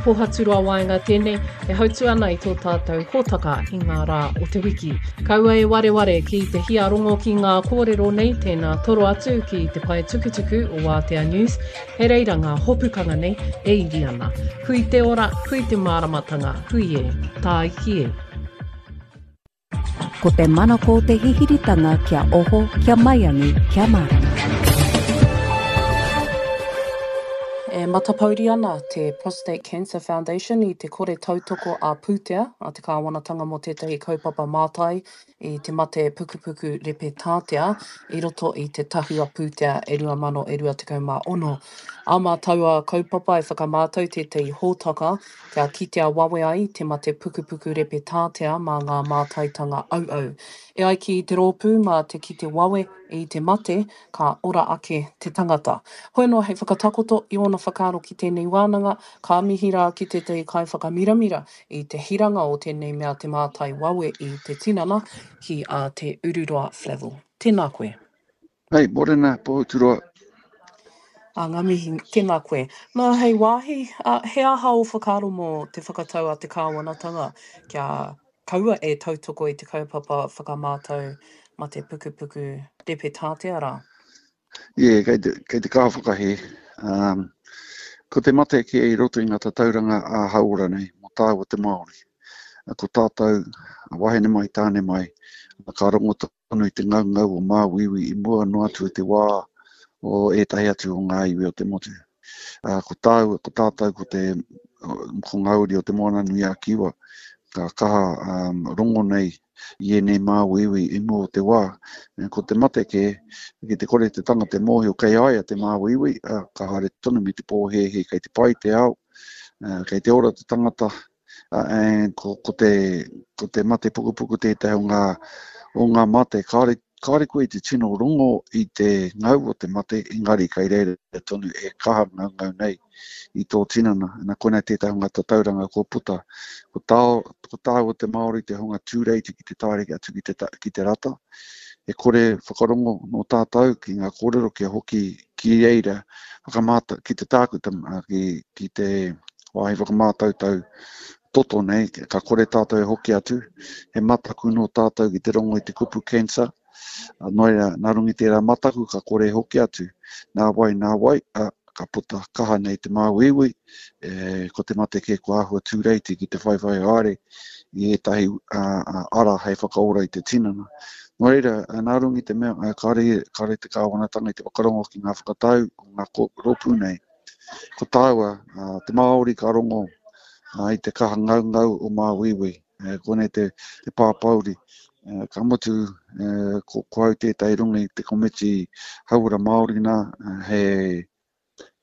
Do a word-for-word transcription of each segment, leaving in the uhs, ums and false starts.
Pohaturoa Waenga tēnei e hautu ana i tō tātou hōtaka i ngā rā o te wiki. Kaua e wareware ki te hia rongo ki ngā kōrero nei, tēnā toro atu ki te pae tukutuku o Wātea News, he reira ngā hopukanga nei e iri ana. Hui te ora, hui te māramatanga, hui e, tāiki e. Ko te manako te hihiritanga kia oho, kia maiangi, kia mārama. E matapouri ana te Prostate Cancer Foundation i te kore tautoko ā-pūtea a te kāwanatanga mō tētahi kaupapa mātai i te mate pukupuku repe tātea i roto i te tahua pūtea e rua mano e rua tekau mā ono. Ā mā taua kaupapa e whakamātau tētahi hōtaka kia kitea wawe ai te mate pukupuku repe tātea mā ngā mātaitanga auau. E ai ki te rōpū mā te kite wawe i te mate, ka ora ake te tangata. Hoi anō hei whakatakoto i ōna whakaaro ki tēnei wānanga, ka mihi rā ki tētahi kaiwhakamiramira i te hiranga o tēnei mea te mātai wawe i te tinana ki a Te Ururoa Flavell. Tēnā koe. Hei, mōrena, Pohuturoa. A, ngā mihi, tēnā koe. Nā, hei wāhi, a, he aha ō whakaaro mō te whakatau a te kāwanatanga kia kaua e tautoko i te kaupapa whakamātau mate pukupuku repe tātea rā? Ie, kei te, kei te kaha whakahē. Um, ko te mate kē i roto i ngā tatauranga ā-hauora nei, mō tāua te Māori. Ko tātou, wahine mai, tāne mai, ka rongo tonu i te ngaungau o māuiui i mua noa atu i te wā o ētahi atu o ngā iwi o te motu. Uh, ko tāua, ko tātou, ko te, ko ngā uri o te Moana-nui-a-Kiwa, ka kaha um, rongo nei i ēnei māuiui i mua o te wā. Ko te mate kē, ki te kore te tangata e mōhio kei a ia te māuiui, uh, ka haere tonu me te pōhēhē kei te pai te ao, uh, kei te ora te tangata, uh, and ko, ko, te, ko te mate pukupuku tētahi o ngā, o ngā mate. Kāore, kāore koe i te tino rongo i te ngau o te mate, engari kei reira tonu e kaha ngaungau nei i tō tinana. Na koinei tētahi o ngā tatauranga kua puta. Ko tā, ko tāua te Māori te hunga tūreiti ki te taere atu ki te, ki te rata. E kore whakarongo nō tātou ki ngā kōrero kia hoki ki reira whakamātau, ki te tākuta, ki, ki te wāhi whakamātautau toto nei, ka kore tātou e hoki atu. He mataku nō tātou ki te rongo i te kupu cancer. Nō reira, nā runga i tērā mataku ka kore e hoki atu. Nā wai, nā wai, a, ka puta kaha nei te māuiui, e, ko te mate kē kua āhua tūreiti ki te whaiwhai haere i ētahi a, a, ara hei whakaora i te tinana. Nō reira, nā runga i te mea, kāore, kāore te kāwanatanga i te whakarongo ki ngā whakatau o ngā rōpū nei. Ko tāua, a, te Māori ka rongo a, i te kaha ngaungau o māuiui. E, konei te, te pāpauri. E, ka mutu, e, ko, ko au tētahi runga i te komiti hauora Māori nā, he,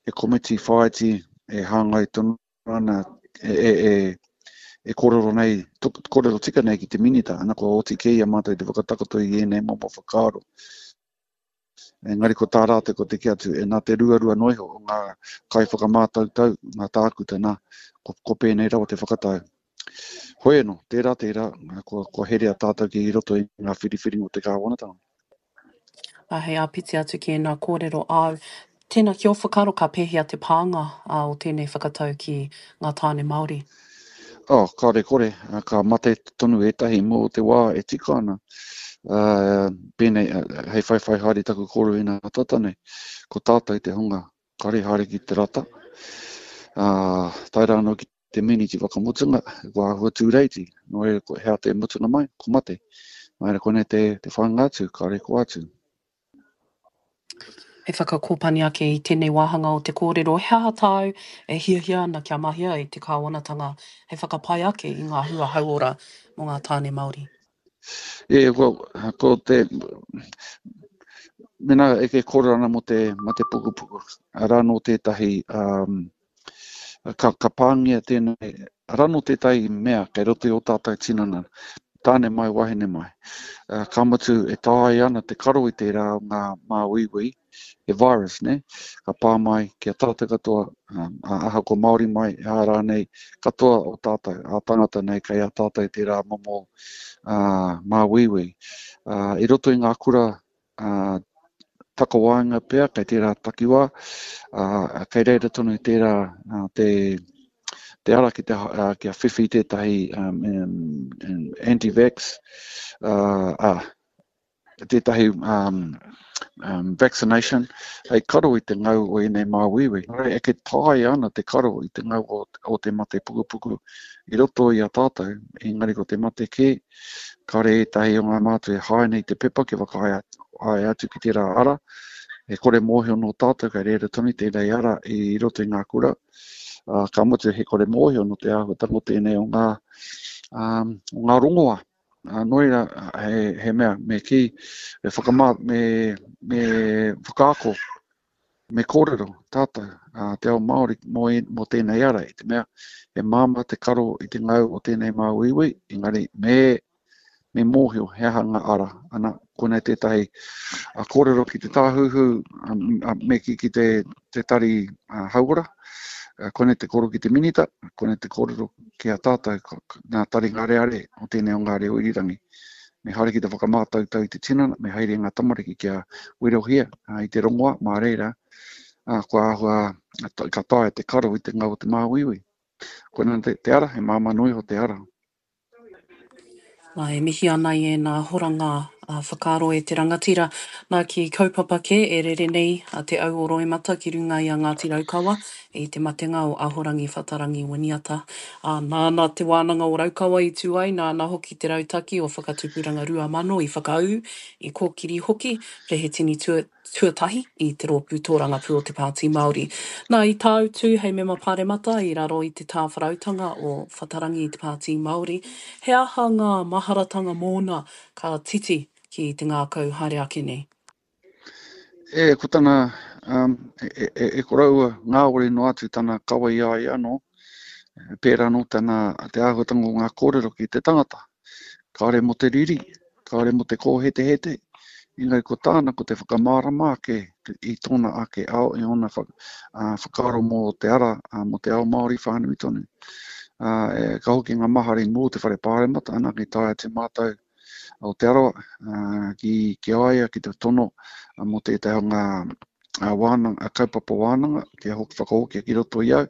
he komiti whāiti e hāngai tonu ana, e, e, e, e kōrero nei, to, kōrero tika nei ki te minita, ana kua oti kē i a mātou te whakatakoto i ēnei momo whakaaro. Engari ko tā rātou ko te kī atu, e nā te ruarua noa iho o ngā kaiwhakamātautau, ngā tākuta nā, ko, ko pēnei rawa te whakatau. Hoi anō, tērā, tērā, kua, kua herea tātou ki roto i ngā whiriwhiringa o te kāwanatanga. Ā, hei āpiti atu ki ēnā kōrero āu, tēnā ki ō whakaaro ka pēhea te pānga ā, o tēnei whakatau ki ngā tāne Māori? Oh, kāore kore, ka mate tonu ētahi mō te wā e tika ana. Uh, pēnei, hei whaiwhai haere taku kōrero inā tata nei, ko tātou te hunga kāore haere ki te rata, uh, tae rā anō ki te miniti whakamutunga, kua āhua tūreiti, nō reira ko hea te mutunga mai, ko mate. Nō reira koinei te, te whāinga atu, kāore ko atu. Hei whakakōpani ake i tēnei wāhanga o te kōrero, he aha tāu e hiahia ana kia mahia e te kāwanatanga hei whakapai ake i ngā hua hauora mō ngā tāne Māori? E, ko, ko te, mena e ke kōrero ana mō te mate pukupuku, arā nō tētahi, um, ka, ka pāngia tēnei, arā nō tētahi mea kei roto i ō tātou tinana, tāne mai, wahine mai. Uh, ka mutu e taea ana te karo i tērā o ngā māuiui, he virus, ne? Ka pā mai ki a tātou katoa, um, ahakoa Māori mai, ā rānei, katoa o tātou, ā tangata nei, kei a tātou tērā momo uh, māuiui. Uh, i roto i ngā kura uh, takawaenga pea, kei tērā takiwā, uh, kei reira tonu tērā uh, te, te ara ki te, uh, kia whiwhi tētahi um, um, anti-vax, uh, uh, tētahi um, um, vaccination, hei karo i te ngau o ēnei māuiui. E ke taea ana te karo i te ngau o, o te mate pukupuku i roto i a tātou, engari ko te mate kē, kāore ētahi o ngā mātua e hae nei te pepa kia whakahae atu ki tērā ara, e kore mōhio nō tātou kei reira tonu tēnei ara i roto i ngā kura, uh, ka mutu he kore mōhio nō te āhuatanga o tēnei o ngā, um, o ngā rongoa. Uh, nō reira, he, he mea, me kī, me whakamā, me, me whakaako, me kōrero tātou, uh, te ao Māori mō, mō tēnei ara, i te mea, he māmā te karo i te ngau o tēnei māuiui, engari me, me mōhio he aha ngā ara. Ana, konei tētahi a kōrero ki te tāhuhu, a, me ki, ki te, te tari a, hauora, konei te kōrero ki te minita, konei te kōrero ki a tātou, ngā tari ngāreare o tēnei o ngā reo irirangi. Me haere ki te whakamātautau i te tinana, me haere ngā tamariki kia werohia a, i te rongoa, mā reira, a, kua āhua, ka taea te karo i te ngau o te māuiui. Koinā te, te ara, he māmā noa iho te ara. Nā, e mihi ana i ēnā horanga a whakaaro e te rangatira. Nā, ki kaupapa kē e rere nei a te au o Roimata ki runga i a Ngāti Raukawa i te matenga o Ahorangi Whatarangi Winiata. Ā, nāna te wānanga o Raukawa i tū ai, nāna hoki te rautaki o Whakatupuranga Rua Mano i whakaū, i kōkiri hoki, Rehetini tua, tuatahi i te rōpū tōrangapū o te Pāti Māori. Nā, i tāutu hei mema pāremata i raro i te tāwharautanga o Whatarangi i te Pāti Māori, he aha ngā maharatanga mōna ka titi ki te ngākau haere ake nei? E, ko tana, um, e, e, e koroua ngāwari noa atu tana kawa i a ia anō, pērā nō tana te āhuatanga o ngā kōrero ki te tangata. Kāore mō te riri, kāore mō te kōhetehete, engari ko tāna ko te whakamārama ake i tōna ake ao, i ōna whakaaro mō te ara, mō te ao Māori whānui tonu. Uh, e, ka hoki ngā mahara i mua o te whare pāremata, ana ki tae atu mātou o Te Arawa, uh, ki, ki a ia, ki te tono uh, mō tētahi o ngā uh, wānanga, uh, kaupapa wānanga, kia hoki whakahokia ki roto i au,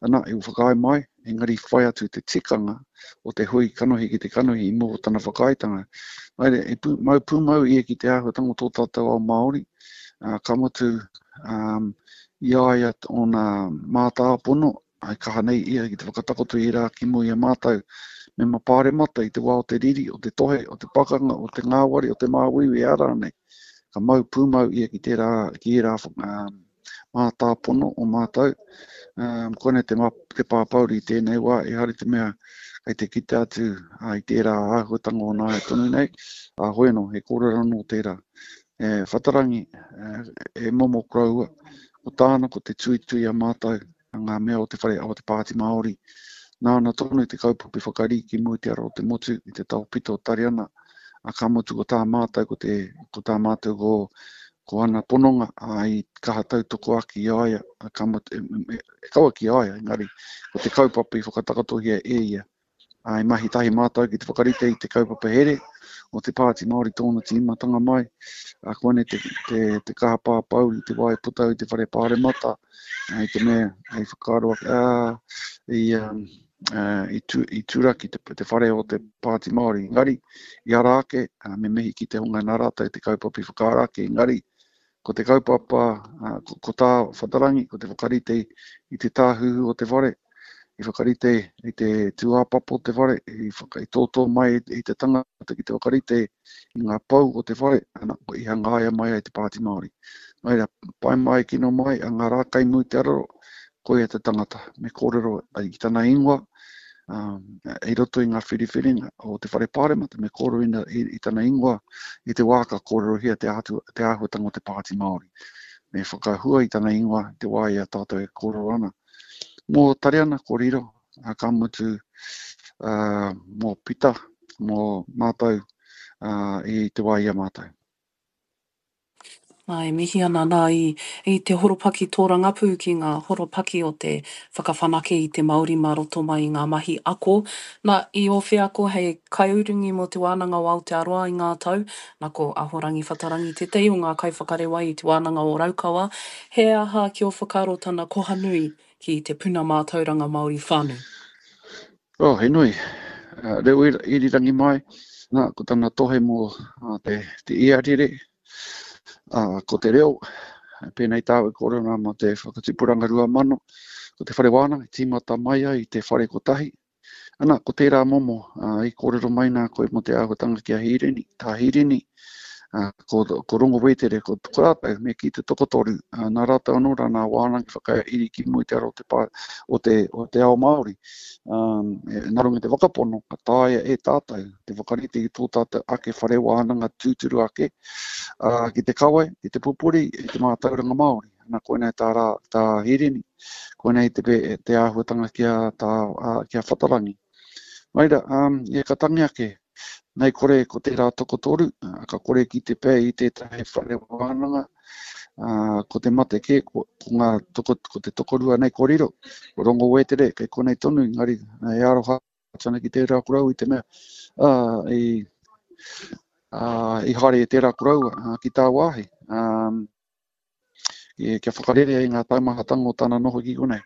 ana, i whakaae mai, engari whai atu te tikanga o te hui kanohi ki te kanohi i mua o tana whakaaetanga. Haere, e pū, mau pūmau ia ki te āhuatanga o tō tātou ao Māori, uh, ka mutu um, i a ia ōna mātāpono, ai kaha nei ia ki te whakatakoto i rā ki mua i a mātou mema pāremata i te wā o te riri, o te tohe, o te pakanga, o te ngāwari, o te māuiui a rānei. Ka mau pūmau ia ki tērā, ki ērā um, mātāpono o mātou. Um, koinei te, te pāpauri i tēnei wā, ehara i te mea kei te kite atu uh, i tērā āhuatanga o nāia tonu nei. Uh, hoi anō, he kōrero anō tērā. E, Whatarangi, e, e momo koroua, ko tāna ko te tuitui a mātou, ngā mea o te whare o te Pāti Māori. Nāna tonu te kaupapa i whakarī ki mua i te ara o te motu, i te taopito o Tariana, a ka mutu ko tā mātou, ko, te, ko tā mātou ko, ko ana pononga, a i kaha tautoko ake i a ia, a ka mutu, e, e, e kaua ki a ia, engari ko te kaupapa i whakatakatohia e ia. A i mahi tahi mātou ki te whakarite i te kaupapa here o te Pāti Māori tōna tīmatanga mai, a koinei te, te, te kaha pāpauri, te wā e puta au i te whare pāremata, i te mea, i whakaaro ake, ā, i, um, uh, i, tu, i turaki te, te whare o te Pāti Māori. Engari, i ara ake, uh, me mihi ki te hunga nā rātou te kaupapa i whakaara ake, engari, ko te kaupapa, uh, ko, ko tā Whatarangi, ko te whakarite i te tāhuhu o te whare, i whakarite i te tūāpapa o te whare, i, whaka, i tōtō mai i te tangata ki te whakarite i ngā pou o te whare, ana, i hangaia mai ai te Pāti Māori. Nō reira, pai mai, kino mai, a ngā rā kai mui te araro, koia te tangata, me kōrero i tana ingoa, um, i roto i ngā whiriwhiringa o te whare pāremata, me kōrero ina, i, i tana ingoa i te wā ka kōrerohia te, ātu, te āhuatanga o te Pāti Māori. Me whakahua i tana ingoa i te wā i a tātou e kōrero ana. Mō Tariana, ko Riro, ka mutu uh, mō Pita, mō mātou uh, i te wā i a mātou. Nā, e mihi ana nā i, i te horopaki tōrangapū ki ngā horopaki o te whakawhanake i te Māori mā roto mai i ngā mahi ako. Nā, i ō wheako hei kaiurungi mō Te Wānanga o Aotearoa i ngā tau, nā ko Ahorangi Whatarangi tētahi o ngā kaiwhakarewa i Te Wānanga o Raukawa, he aha ki ō whakaaro tana koha nui ki te puna mātauranga Māori whānui? Oh, he nui. Uh, reo irirangi mai, nā, ko tana tohe mō uh, te, te iarere, uh, ko te reo, pēnei tāu e kōrero nā mō te whakatipuranga rua mano, ko te whare wānanga, i tīmata mai ai i te whare kotahi. Ana, ko tērā momo, uh, i kōrero mai nā koe mō te āhuatanga ki a Hīrini, tā Hīrini, uh, ko, ko Rongo Wētere, ko, ko rātou, me kī te tokotoru, uh, nā rātou anō rā nā wānanga whakairi ki mua i te ara o te, pā, o te, o te ao Māori. Um, e, nā runga i te whakapono, ka taea e tātou te whakarite i tō tātou ake whare wānanga tūturu ake, uh, ki te kawe, ki te pupuri i te mātauranga Māori. Nā, koinei tā, rā, tā Hīrini, koinei te, te āhuatanga ki a, tā, uh, ki a Whatarangi. Maira, um, e ka tangi ake, nei kore ko tērā tokotoru, ka kore ki te pē i tētahi whare wānanga, uh, ko te mate kē, ko, ko, ngā toko, ko te tokorua nei ko riro, ko Rongo Wētere, kei konei tonu, engari e aroha atu ana ki tērā koroua i te mea, uh, i, uh, i haere e tērā koroua uh, ki tāwāhi. Um, kia whakarere ai ngā taumahatanga o tana noho ki konei.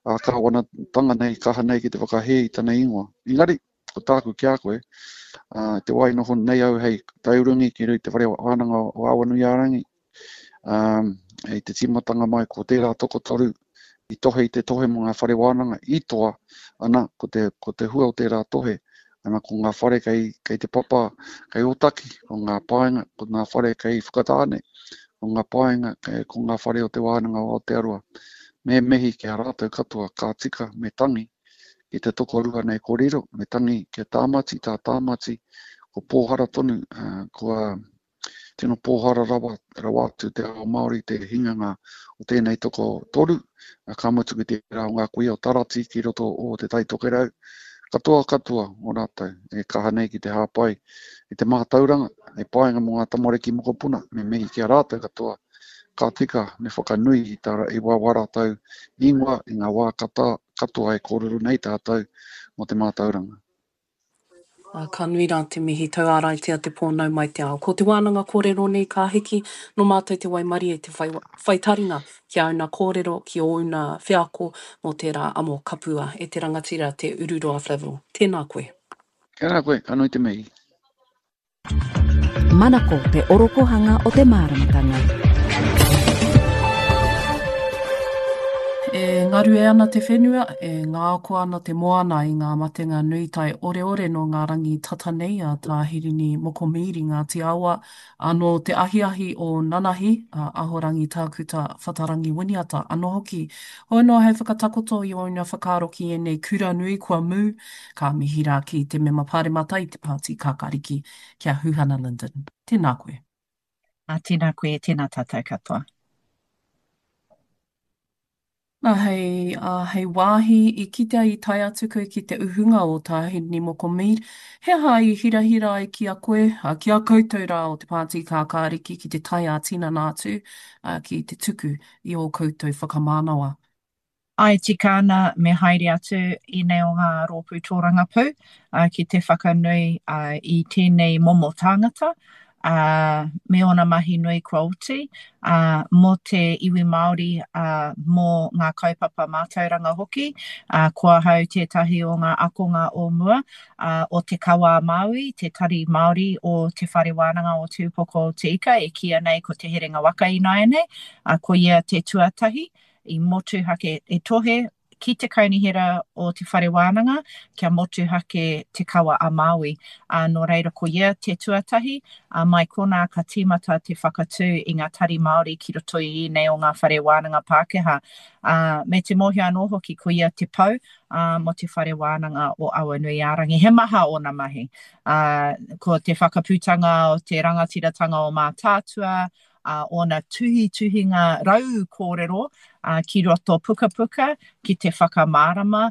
Ā, kāwanatanga nei, kaha nei ki te whakahē i tana ingoa. Engari, ko tāku ki a koe, ā, te wā i noho nei au hei taurangi ki te whare wānanga o Awanuiārangi, ā, i te tīmatanga mai ko tērā tokotoru i tohe i te tohe mō ngā whare wānanga i toa, ana, ko te, ko te hua o tērā tohe, ana, ko ngā whare kei, kei te papa, kei Ōtaki, ko ngā paenga, ko ngā whare kei Whakatāne, ko ngā paenga, ko ngā whare o Te Wānanga o Aotearoa. Me mihi ki a rātou katoa, ka tika, me tangi ki te tokorua nei ko riro, me tangi ki a Tāmati, tā Tāmati, ko pōhara tonu, kua tino pōhara rawa, rawa atu te ao Māori te hinganga o tēnei tokotoru, ka mutu ki tērā o ngā kuia o Tarati ki roto o Te Tai Tokerau, katoa katoa o rātou e kaha nei ki te hāpai i te mātauranga, hei painga mō ngā tamariki mokopuna, me mihi ki a rātou katoa, ka tika me whakanui i tā, i wā wā rātou ingoa i ngā wā kata, katoa e kōrero nei tātou mō te mātauranga. Ā, ka nui rā te mihi tauāraitia te pō nau mai te ao. Ko te wānanga kōrero nei ka hiki, nō mātou te waimarie te whai, whai taringa ki āuna kōrero, ki ōuna wheako mō tērā amo kapua e te rangatira Te Ururoa Flavell. Tēnā koe. Tēnā koe, ka nui te mihi. Manako te orokohanga o te māramatanga. E ngarue ana te whenua, e ngāko ana te moana i ngā matenga nui tae oreore nō ngā rangi tata nei a Tā Hirini Moko Mead i Ngāti Awa, ā, nō te ahiahi o nanahi, a Ahorangi Tākuta Whatarangi Winiata anō hoki. Hoi noa hei whakatakoto i ōna whakaaro ki ēnei kura nui kua mū, ka mihi rā ki te Mema Pāremata i te Pāti Kākāriki, ki a Huhana Lyndon. Tēnā koe. Ā, tēnā koe, tēnā tātou katoa. Nā, hei, ā, hei wāhi i kitea i tae atu koe ki te uhunga o Tā Hirini Moko Mead, he aha i hirahira ai ki a koe, ā, ki a koutou rā o te Pāti Kākāriki ki te tae ā-tinana atu, ā, ki te tuku i ō koutou whakamānawa? Āe tika ana me haere atu ēnei o ngā rōpū tōrangapū ki te whakanui i tēnei momo tāngata me ōna mahi nui kua oti mō te iwi Māori, mō ngā kaupapa mātauranga hoki. Ko ahau tētahi o ngā akonga o mua o Te Kawa a Māui, te tari Māori o Te Whare Wānanga o Te Upoko o Te Ika e kīia nei ko Te Herenga Waka ināianei, ko ia te tuatahi i motuhake e tohe ki te kaunihera o te whare wānanga kia motuhake Te Kawa a Māui. Ā, nō reira ko ia te tuatahi, ā, mai konā ka tīmata te whakatū i ngā tari Māori ki roto i ēnei o ngā whare wānanga Pākehā. Ā, me te mōhio anō hoki ko ia te pou, ā, mō te whare wānanga o Awanuiārangi. He maha ōna mahi. Ā, ko te whakaputanga o te rangatiratanga o Mātaatua, ā, ōna tuhituhinga rau kōrero ki roto pukapuka ki te whakamārama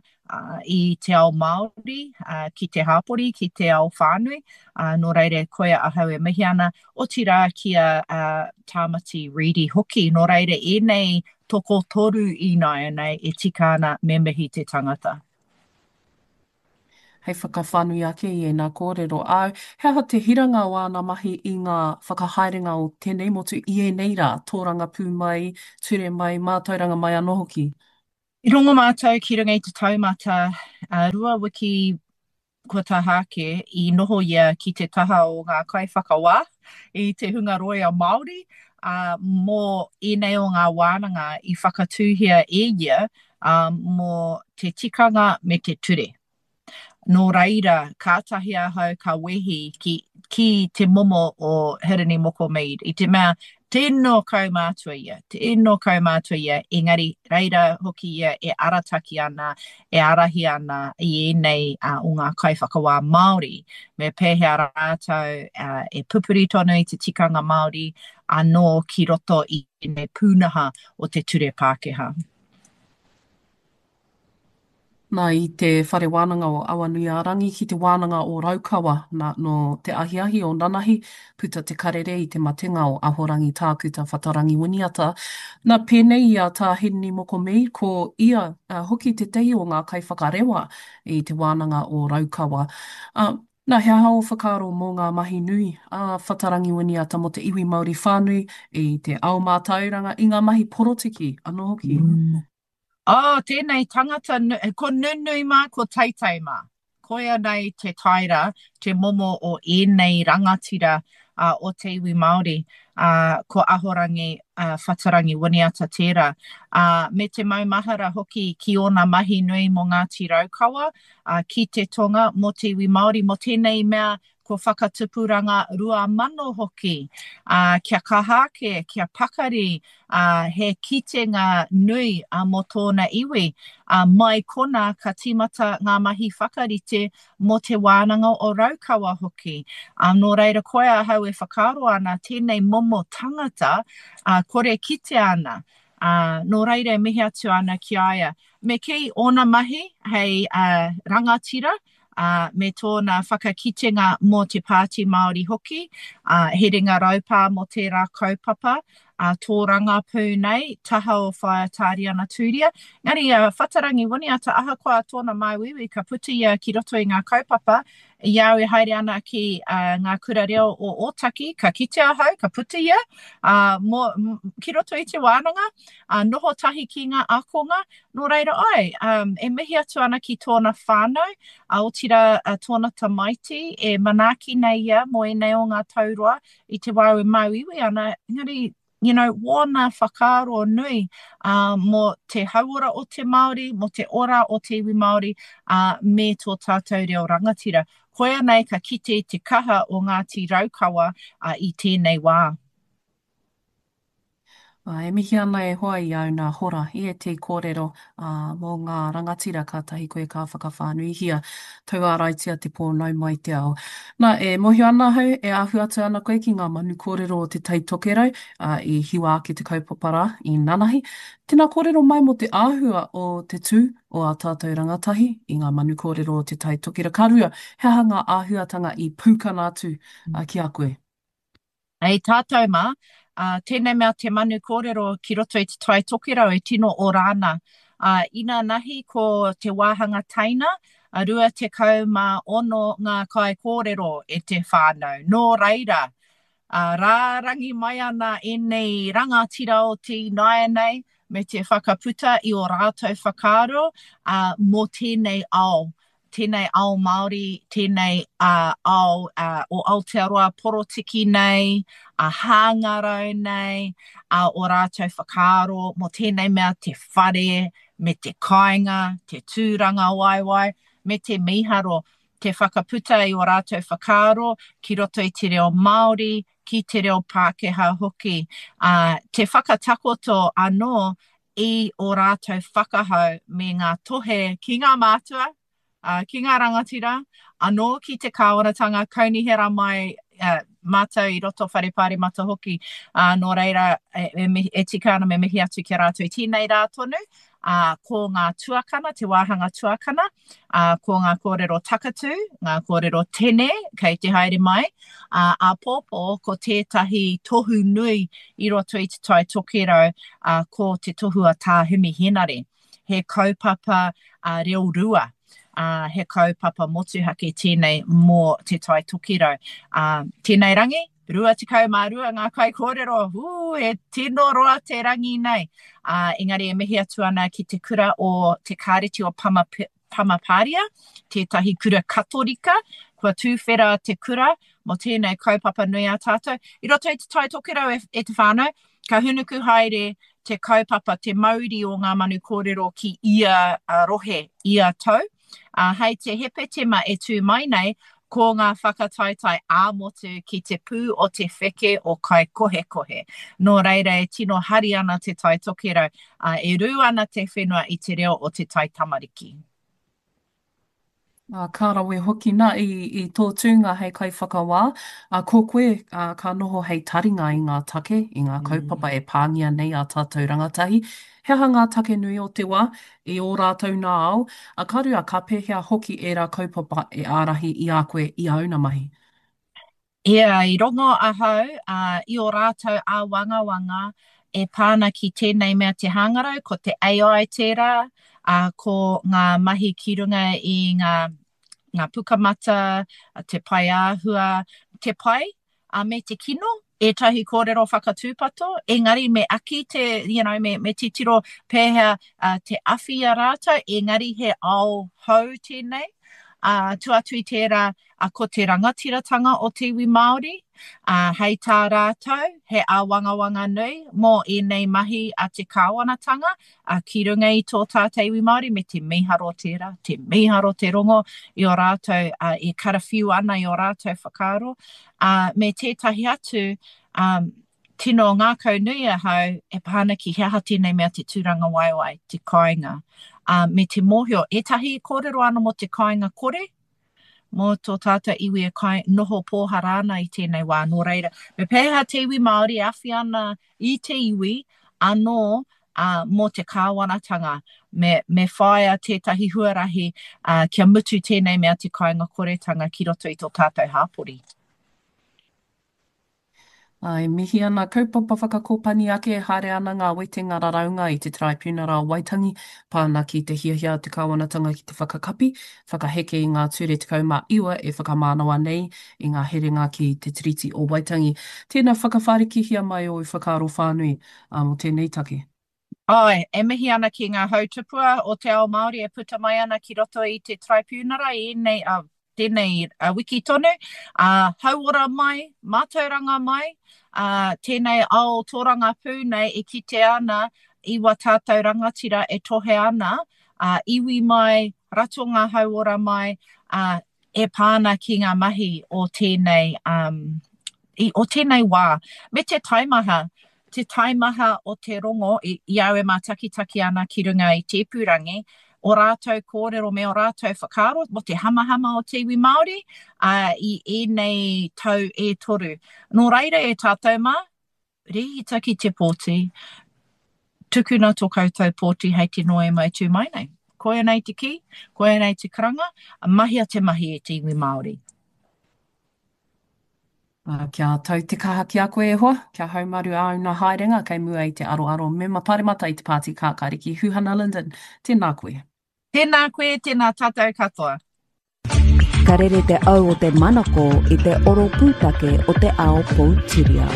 i te ao Māori, ki te hāpori, ki te ao whānui, nō reira koia ahau e mihi ana, otirā ki a Tāmati Reedy hoki, nō reira ēnei tokotoru ināianei e tika ana me mihi te tangata. Hei whakawhānui ake i ēnā kōrero āu, he aha te hiranga o āna mahi i ngā whakahaerenga o tēnei motu i ēnei rā, tōrangapū mai, ture mai, mātauranga mai anō hoki? I rongo mātou ki runga i te taumata, uh, rua wiki kua taha ake i noho ia ki te taha o ngā kaiwhakawā i te hunga rōia Māori, ā, mō ēnei o ngā wānanga i whakatūhia e ia, ā, mō te tikanga me te ture. Nō reira, kātahi ahau ka wehi ki, ki te momo o Hirini Moko Mead, i te mea, tino kaumātua ia, tino kaumātua ia, engari reira hoki ia e arataki ana, e ārahi ana i ēnei uh, o ngā kaiwhakawā Māori, me pēhea rātou uh, e pupuri tonu i te tikanga Māori anō ki roto i ēnei pūnaha o te ture Pākehā. Nā, i te Whare Wānanga o Awanuiārangi ki te Wānanga o Raukawa, nā, nō te ahiahi o nanahi, puta te karere i te matenga o Ahorangi Tākuta Whatarangi Winiata. Nā, pēnei i a Tā Hirini Moko Mead, ko ia hoki tētahi o ngā kaiwhakarewa i te Wānanga o Raukawa. Ā, nā, he aha ō whakaaro mō ngā mahi nui a Whatarangi Winiata mō te iwi Māori whānui i te ao mātauranga, i ngā mahi porotiki anō hoki? Oh, tēnei tangata, ko nunui mā, ko teitei mā. Koia nei te taera, te momo o ēnei rangatira uh, o te iwi Māori, uh, ko Ahorangi uh, Whatarangi Winiata tērā. Uh, me te maumahara hoki ki ōna mahi nui mō Ngāti Raukawa, uh, ki te tonga, mō te iwi Māori, mō tēnei mea ko Whakatupuranga rua mano hoki, ā, kia kaha ake, kia pakari, ā, he kitenga nui ā, mō tōna iwi. Ā, mai konā ka tīmata ngā mahi whakarite mō Te Wānanga o Raukawa hoki. Ā, nō reira koia ahau e whakaaro ana tēnei momo tangata, ā, kore kitea ana. Ā, nō reira e mihi atu ana ki a ia. Me kī ōna mahi hei ā, rangatira, ā, me tōna whakakitenga mō te Pāti Māori hoki, ā, he ringa raupā mō tērā kaupapa, ā, tōrangapū nei, taha o Whaea Tāriana Tūria. Engari a Whatarangi Winiata, ahakoa tōna māuiui, ka puta ia ki roto i ngā kaupapa, i a au e haere ana ki uh, ngā kura reo o Ōtaki, ka kite ahau, ka puta ia, uh, mō, ki roto i te wānanga, uh, noho tahi ki ngā ākonga, nō reira ai, um, e mihi atu ana ki tōna whānau, uh, otirā uh, tōna tamaiti, e manaaki nei ia mō ēnei o ngā tau roa i te wā e māuiui ana, engari you know, wōna whakaaro nui uh, mō te hauora o te Māori, mō te ora o te iwi Māori, uh, me tō tātou reo rangatira. Koia nei ka kite i te kaha o Ngāti Raukawa uh, i tēnei wā. Ā, e mihi ana e hoa i āu nā hora i ētehi kōrero, ā, mō ngā rangatira kātahi koe ka whakawhānuihia, tauāraitia te pō nau mai te ao. Nā, e mōhio ana ahau, e ahu atu ana koe ki ngā manu kōrero o Te Tai Tokerau, ā, i hiwa ake te kaupapa rā i nanahi. Tēnā kōrero mai mō te āhua o te tū o ā tātou rangatahi i ngā manu kōrero o Te Tai Tokerau. Ka rua, he aha ngā āhuatanga i pūkana atu ki a koe? Hei tātou mā, ā, tēnei mea te manu kōrero ki roto i Te Tai Tokerau e tino ora ana. Ā, inanahi ko te wāhanga teina, a rua tekau mā ono ngā kaikōrero e te whānau. Nō reira, ā, rārangi mai ana ēnei rangatira o te ināianei me te whakaputa i ō rātou whakaaro, ā, mō tēnei ao tēnei ao Māori, tēnei ao o Aotearoa porotiki nei, a hāngarau nei, a o rātou whakaaro mō tēnei mea te whare, me te kāinga, te tūrangawaewae, me te mīharo, te whakaputa i o rātou whakaaro ki roto i te reo Māori, ki te reo Pākehā hoki. Ā, te whakatakoto anō i ō rātou whakahau me ngā tohe ki ngā mātua, ā, ki ngā rangatira, anō ki te kāwanatanga kaunihera mai ā, mātou i roto whare pāremata hoki, ā, nō reira e, e, e tika ana me mihi atu ki a rātou i tēnei rā tonu, ā, ko ngā tuakana, te wāhanga tuakana, ā, ko ngā kōrero takatū, ngā kōrero tene kei te haere mai, ā, āpōpō ko tētahi tohu nui i roto i Te Tai Tokerau, ā, ko te tohu a Tā Himi Henare. He kaupapa ā, reo rua, ā, he kaupapa motuhake tēnei mō Te Tai Tokerau. Ā, tēnei rangi, Rua tekau mā rua ngā kaikōrero, ū, he tino roa te rangi nei. Ā, engari e mihi atu ana ki te kura o Te Kāreti o Pama, Pamapāria, tētahi kura Katorika, kua tūwhera te kura mō tēnei kaupapa nui a tātou. I roto i Te Tai Tokerau e, e te whānau, ka hunuku haere te kaupapa, te mauri o ngā manu kōrero ki ia rohe, ia tau. Ā, hei te Hepetema e tū mai nei, ko ngā whakataetae ā-motu ki te pū o te wheke o Kaikohekohe. Nō reira e tino hari ana Te Tai Tokerau, ā, e rū ana te whenua i te reo o te taitamariki. Ā, ka rawe hoki nā i, i tō tūnga hei kaiwhakawā, ā, ko koe, ā, ka noho hei taringa i ngā take, i ngā kaupapa e pāngia nei ā tātou rangatahi. He aha ngā take nui o te wā, i ō rātou nā ao, ā, ka rua, ka pēhea hoki ērā kaupapa e ārahi i a koe i āu nā mahi? Ia, i rongo ahau i ō rātou āwangawanga e pā ana ki tēnei mea te hangarau, ko te A I tērā, ā, ko ngā mahi ki runga i ngā, ngā pukamata, te paeāhua, te pai, ā, me te kino, ētahi kōrero whakatūpato, engari me aki te, you know, me, me titiro pēhea uh, te awhi i a rātou, engari he ao hou tēnei. Uh, tua atu i tērā, uh, ko te rangatiratanga o te iwi Māori, uh, hei tā rātou, he āwangawanga nui mō ēnei mahi a te kāwanatanga, uh, ki runga i tō tātou iwi Māori, me te mīharo tērā, te mīharo te rongo i o rātou, uh, e karawhiu ana i o rātou whakaaro, uh, me tētahi atu, um, tino ngākau nui ahau e pā ana ki he aha tēnei mea te tūrangawaewae, te kāinga, uh, me te mōhio, ētahi kōrero ana mō te kāinga kore, mō tō tātou iwi e kai, noho pōhara ana i tēnei wā. Nō reira, me pēhea te iwi Māori e awhi ana i te iwi anō uh, mō te kāwanatanga, me, me whāia tētahi huarahi uh, kia mutu tēnei mea te kāinga koretanga ki roto i tō tātou hāpori. Ā, e mihi ana kaupapa whakakōpani ake e haere ana ngā wetenga raraunga i te Taraipiunara o Waitangi, pā ana ki te hiahia a te kāwanatanga ki te whakakapi, whakaheke i ngā ture tekau mā iwa e whakamānawa nei i ngā herenga ki te Tiriti o Waitangi. Tēnā, whakawhārikihia mai ōu whakaaro whānui mō tēnei take. Āe, e mihi ana ki ngā hautupua o te ao Māori e puta mai ana ki roto i te Taraipiunara i ēnei, ā, tēnei wiki tonu, ā, hauora mai, mātauranga mai, ā, tēnei ao tōrangapū nei e kitea ana i wā tātou rangatira e tohe ana, ā, iwi mai, ratonga hauora mai, ā, e pā ana ki ngā mahi o tēnei, um, i, o tēnei wā. Me te taimaha, te taimaha o te rongo i, i au e mātakitaki ana ki runga i te ipurangi, o rātou kōrero me o rātou whakaaro mō te hamahama o te iwi Māori uh, i ēnei tau e toru. Nō reira e tātou mā, rēhita ki te pōti, tukuna tō koutou pōti hei te Noema e tū mai nei. Koia nei te kī, koia nei te karanga, mahia te mahi e te iwi Māori. Uh, kia tau te kaha ki a koe e hoa, kia haumaru āu nā haerenga kei mua i te aroaro mema paremata i te Pāti Kākāriki Huhana Lyndon. Tēnā koe. Tēnā koe, tēnā tātou katoa. Ka rere te au o te manako i te oro pūtake o te ao poutiriao.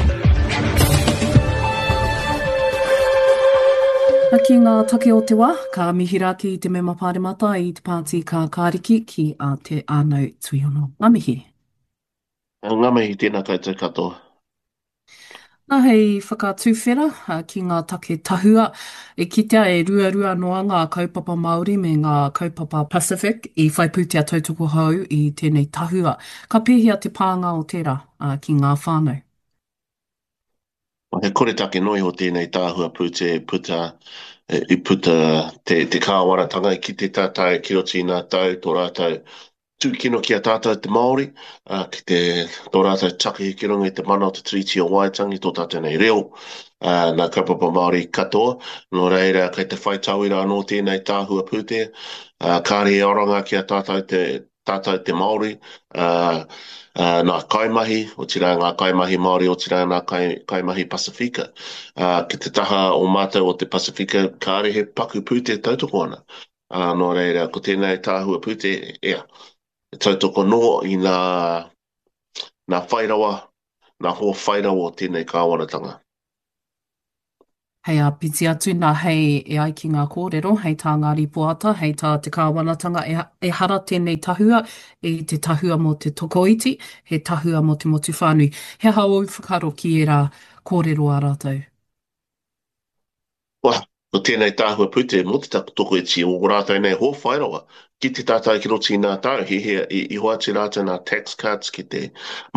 Ki ngā take o te wā, ka mihi rā ki te mema paremata i te Pāti Kākāriki ki a Te Ānau Tuiono. Ngā mihi. Ngā mihi, tēnā koutou katoa. Nā, hei whakatuwhera ki ngā take tahua, e kitea e ruarua noa ngā kaupapa Māori me ngā kaupapa Pacific i whai pūtea tautoko hou i tēnei tahua. Ka pēhea te pānga o tērā ki ngā whānau? He koretake noa iho tēnei tahua pūtea i puta, i puta te, te kāwanatanga i kite tātou ki roto i ngā tau, tō rātou tūkino ki a tātou te Māori, ā, ki te, tō rātou takahi ki runga i te mana o te Tiriti o Waitangi, tō tātou nei reo, ā, nā kaupapa Māori katoa. Nō reira, kei te whai tauira anō tēnei tahua pūtea, ā, kāre he oranga ki a tātou te, tātou te Māori, ā, ā, nā kaimahi, otirā ngā kaimahi Māori, otirā ngā kai, kaimahi Pasifika. Ā, ki te taha o mātou o te Pasifika, kāre he paku pūtea tautoko ana. Ā, nō reira, ko tēnei tahua pūtea, ea, e tautoko nō i nā, nā whairawa, nā hoa whai rawa o tēnei kāwanatanga. Hei āpiti atu nā, hei, e ai ki ngā kōrero, hei tā ngā rīpoata, hei tā te kāwanatanga, ehara tēnei tahua i te tahua mō te tokoiti, he tahua mō te motu whānui. He aha ōu whakaaro ki ērā kōrero a rātou? Wah, ko tēnei tahua pūtea mō te tokoiti o ō rātou nei hoa whai rawa, ki te tātai ki roto i nā tau, he hea i, i hoatu rātou nā tax cuts ki te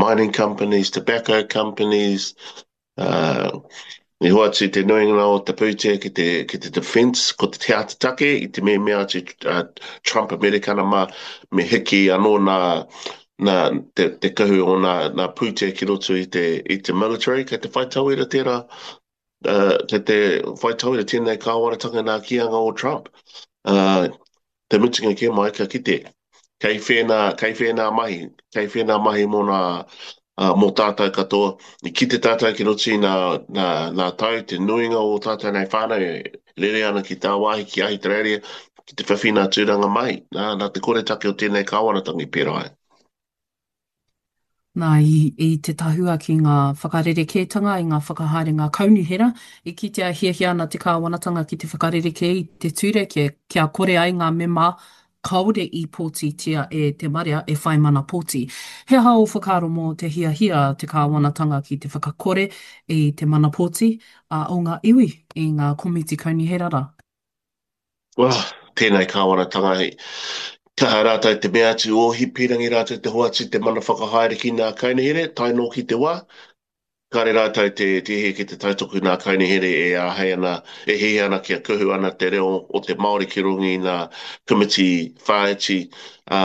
mining companies, tobacco companies, uh, i hoatu te nuinga o te pūtea ki te, ki te defence, ko te te take i te mea mea atu uh, Trump Amerikana mā, me hiki anō nā, nā te, te kahu o nā, nā pūtea ki roto i te, i te military, kei te whai tauira tērā, uh, kei te whai tauira tēnei kāwanatanga nā kīanga o Trump. Uh, te mutunga kē mai, ka kite, kei whēnā, kei whēnā mahi, kei whēnā mahi mō nā, uh, mō tātou katoa. I kite tātou ki roto i nā, nā, nā tau, te nuinga o tātou nei whānau e rere ana ki tāwāhi, ki Ahitereiria, ki te whiwhi nā tūranga mahi, nā, nā te koretake o tēnei kāwanatanga i pērā ai. Nā, i, i te tahua ki ngā whakarerekētanga i ngā whakahaerenga kaunihera, i kitea e hiahia ana te kāwanatanga ki te whakarerekē i te ture kia, kia kore ai ngā mema kāore i pōtitia e te marea e whai mana pōti. He aha ō whakaaro mō te hiahia a te kāwanatanga ki te whakakore i te mana pōti a o ngā iwi i ngā komiti kaunihera rā? Oh, tēnei kāwanatanga hei kaha rātou te mea atu o Hipirangi rātou te hoatu te mana whakahaere ki ngā kaunihera, tae noa ki te wā. Kāre rātou te, te hē ki te tautoko ngā kaunihera e āhei ana, e hiahia ana kia kuhu ana te reo o te Māori ki runga i ngā komiti whāiti, ā,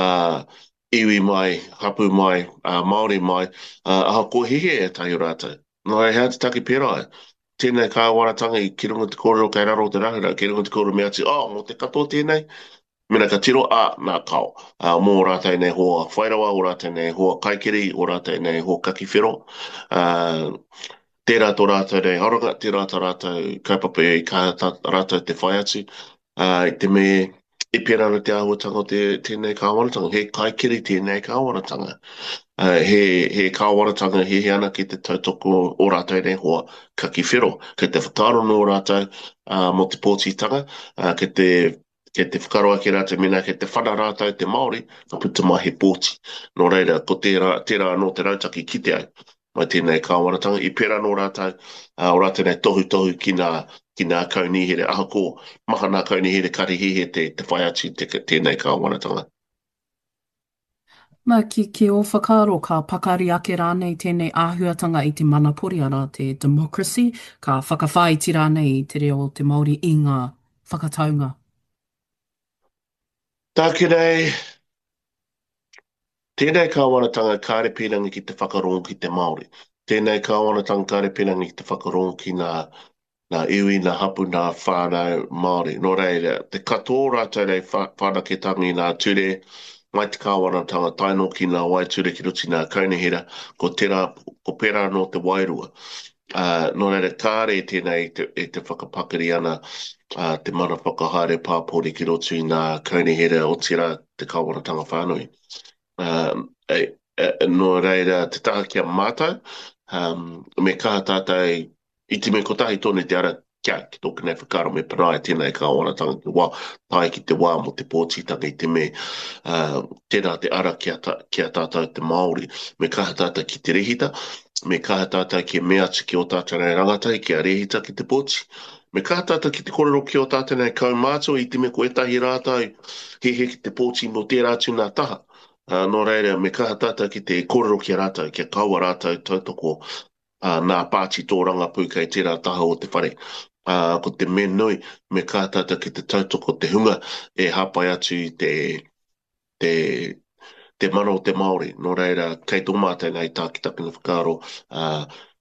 iwi mai, hapū mai, ā, Māori mai, ā, ahakoa hiahia ētahi o rātou. Nō reira, he aha te take pērā ai? Tēnei kāwanatanga i ki runga te kōrero kei raro o te rahura, ki runga te kōrero me atu, oh, mō te katoa tēnei? Mena ka tiro, ā, nā, kao. Ā, mō ō rātou nei hoa whai rawa, ō rātou nei hoa kaikiri, ō rātou nei hoa kaki whero. Ā, tērā tō rātou nei aronga, tērā tā rātou kaupapa i kaha tā rātou te whai atu. Ā, i te me i pērā ana te āhuatanga o te, tēnei kāwanatanga, he kaikiri tēnei kāwanatanga. Ā, he, he kāwanatanga e hiahia ana ki te tautoko o rātou nei hoa kaki whero. Kei te whakaaro nō rātou ā, mō te pōtitanga, ā, kei te, kei te whakaaro ake rātou mēnā kei te whana rātou te Māori, ka puta mai he pōti. Nō reira, ko tērā, tērā anō te rautaki kite ai mai tēnei kāwanatanga. I pērā nō rātou, ā, o rātou nei tohutohu ki nā, ki nā kaunihera, ahakoa maha nā kaunihera kare hiahia te, te whai atu i te, tēnei kāwanatanga. Nā, ki, ki ō whakaaro, ka pakari ake rānei tēnei āhuatanga i te manapori, arā, te democracy, ka whakawhāiti rānei i te reo o te Māori i ngā whakataunga? Tāku nei, tēnei kāwanatanga kāre pīrangi ki te whakarongo ki te Māori. Tēnei kāwanatanga kāre pīrangi ki te whakarongo ki ngā, ngā iwi, ngā hapu, ngā whānau Māori. Nō reira, te katoa o rātou nei whanaketanga i ngā ture, mai te kāwanatanga tae noa ki ngā waeture ki roto i ngā kaunihera, ko tērā, ko pērā anō te wairua. Ā, nō reira, kāre tēnei e te, e te whakapakari ana ā, te mana whakahaere pāpori ki roto i ngā kaunihera, otirā te kāwanatanga whānui. Ā, e, e, nō reira, te taha ki a mātou, ā, me kaha tātou i te mea kotahi tonu te ara kia, ki tōku nei whakaaro me panaia tēnei kāwanatanga ki te wā, tae ki te wā mō te pōtitanga i te mea, ā, tērā te ara ki a, ki a tātou te Māori, me kaha tātou ki te rehita, me kaha tātou ki mea atu ki ō tātou nei rangatahi kia rehita ki te pōti, me kaha tātou ki te kōrero ki ō tātou nei kaumātua i te mea ko ētahi rātou hiahia ki te pōti mō tērā atu nā taha. Ā, nō reira, me kaha tātou ki te kōrero ki a rātou, kia kaua rātou tautoko ā, nā pāti tōrangapū kei tērā taha o te whare. Ā, ko te mea nui, me kaha tātou ki te tautoko te hunga e hāpai atu i te, te, te mana o te Māori. Nō reira, kei tō mātou nei tākitakina whakaaro, ā,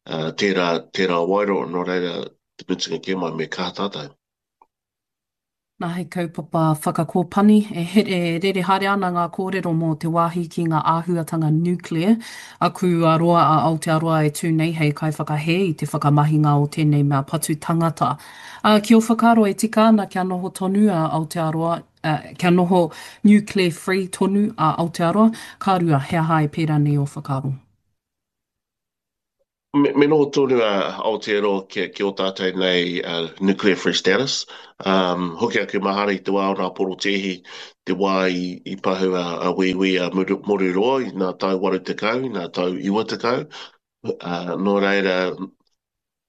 ā, tērā, tērā waero, nō reira, te mutunga kē mai, me kaha tātou. Nā, he kaupapa whakakōpani e here rere haere ana ngā kōrero mō te wāhi ki ngā āhuatanga nuclear. Aku a roa a Aotearoa e tū nei hei kaiwhakahē i te whakamahinga o tēnei mea patu tangata. Ā, ki ō whakaaro e tika ana kia noho tonu a Aotearoa, ā, kia noho nuclear free tonu a Aotearoa? Ka rua, he aha e pērā nei ō whakaaro? Me, me noho tonu a Aotearoa ki, ki ō tātou nei uh, nuclear free status. Um, hoki aku mahara i te wā o nā porotēhi, te wā i, i pahu a, a Wīwī a Moruroa i nā tau waru tekau, i nā tau iwa tekau. Uh, nō reira,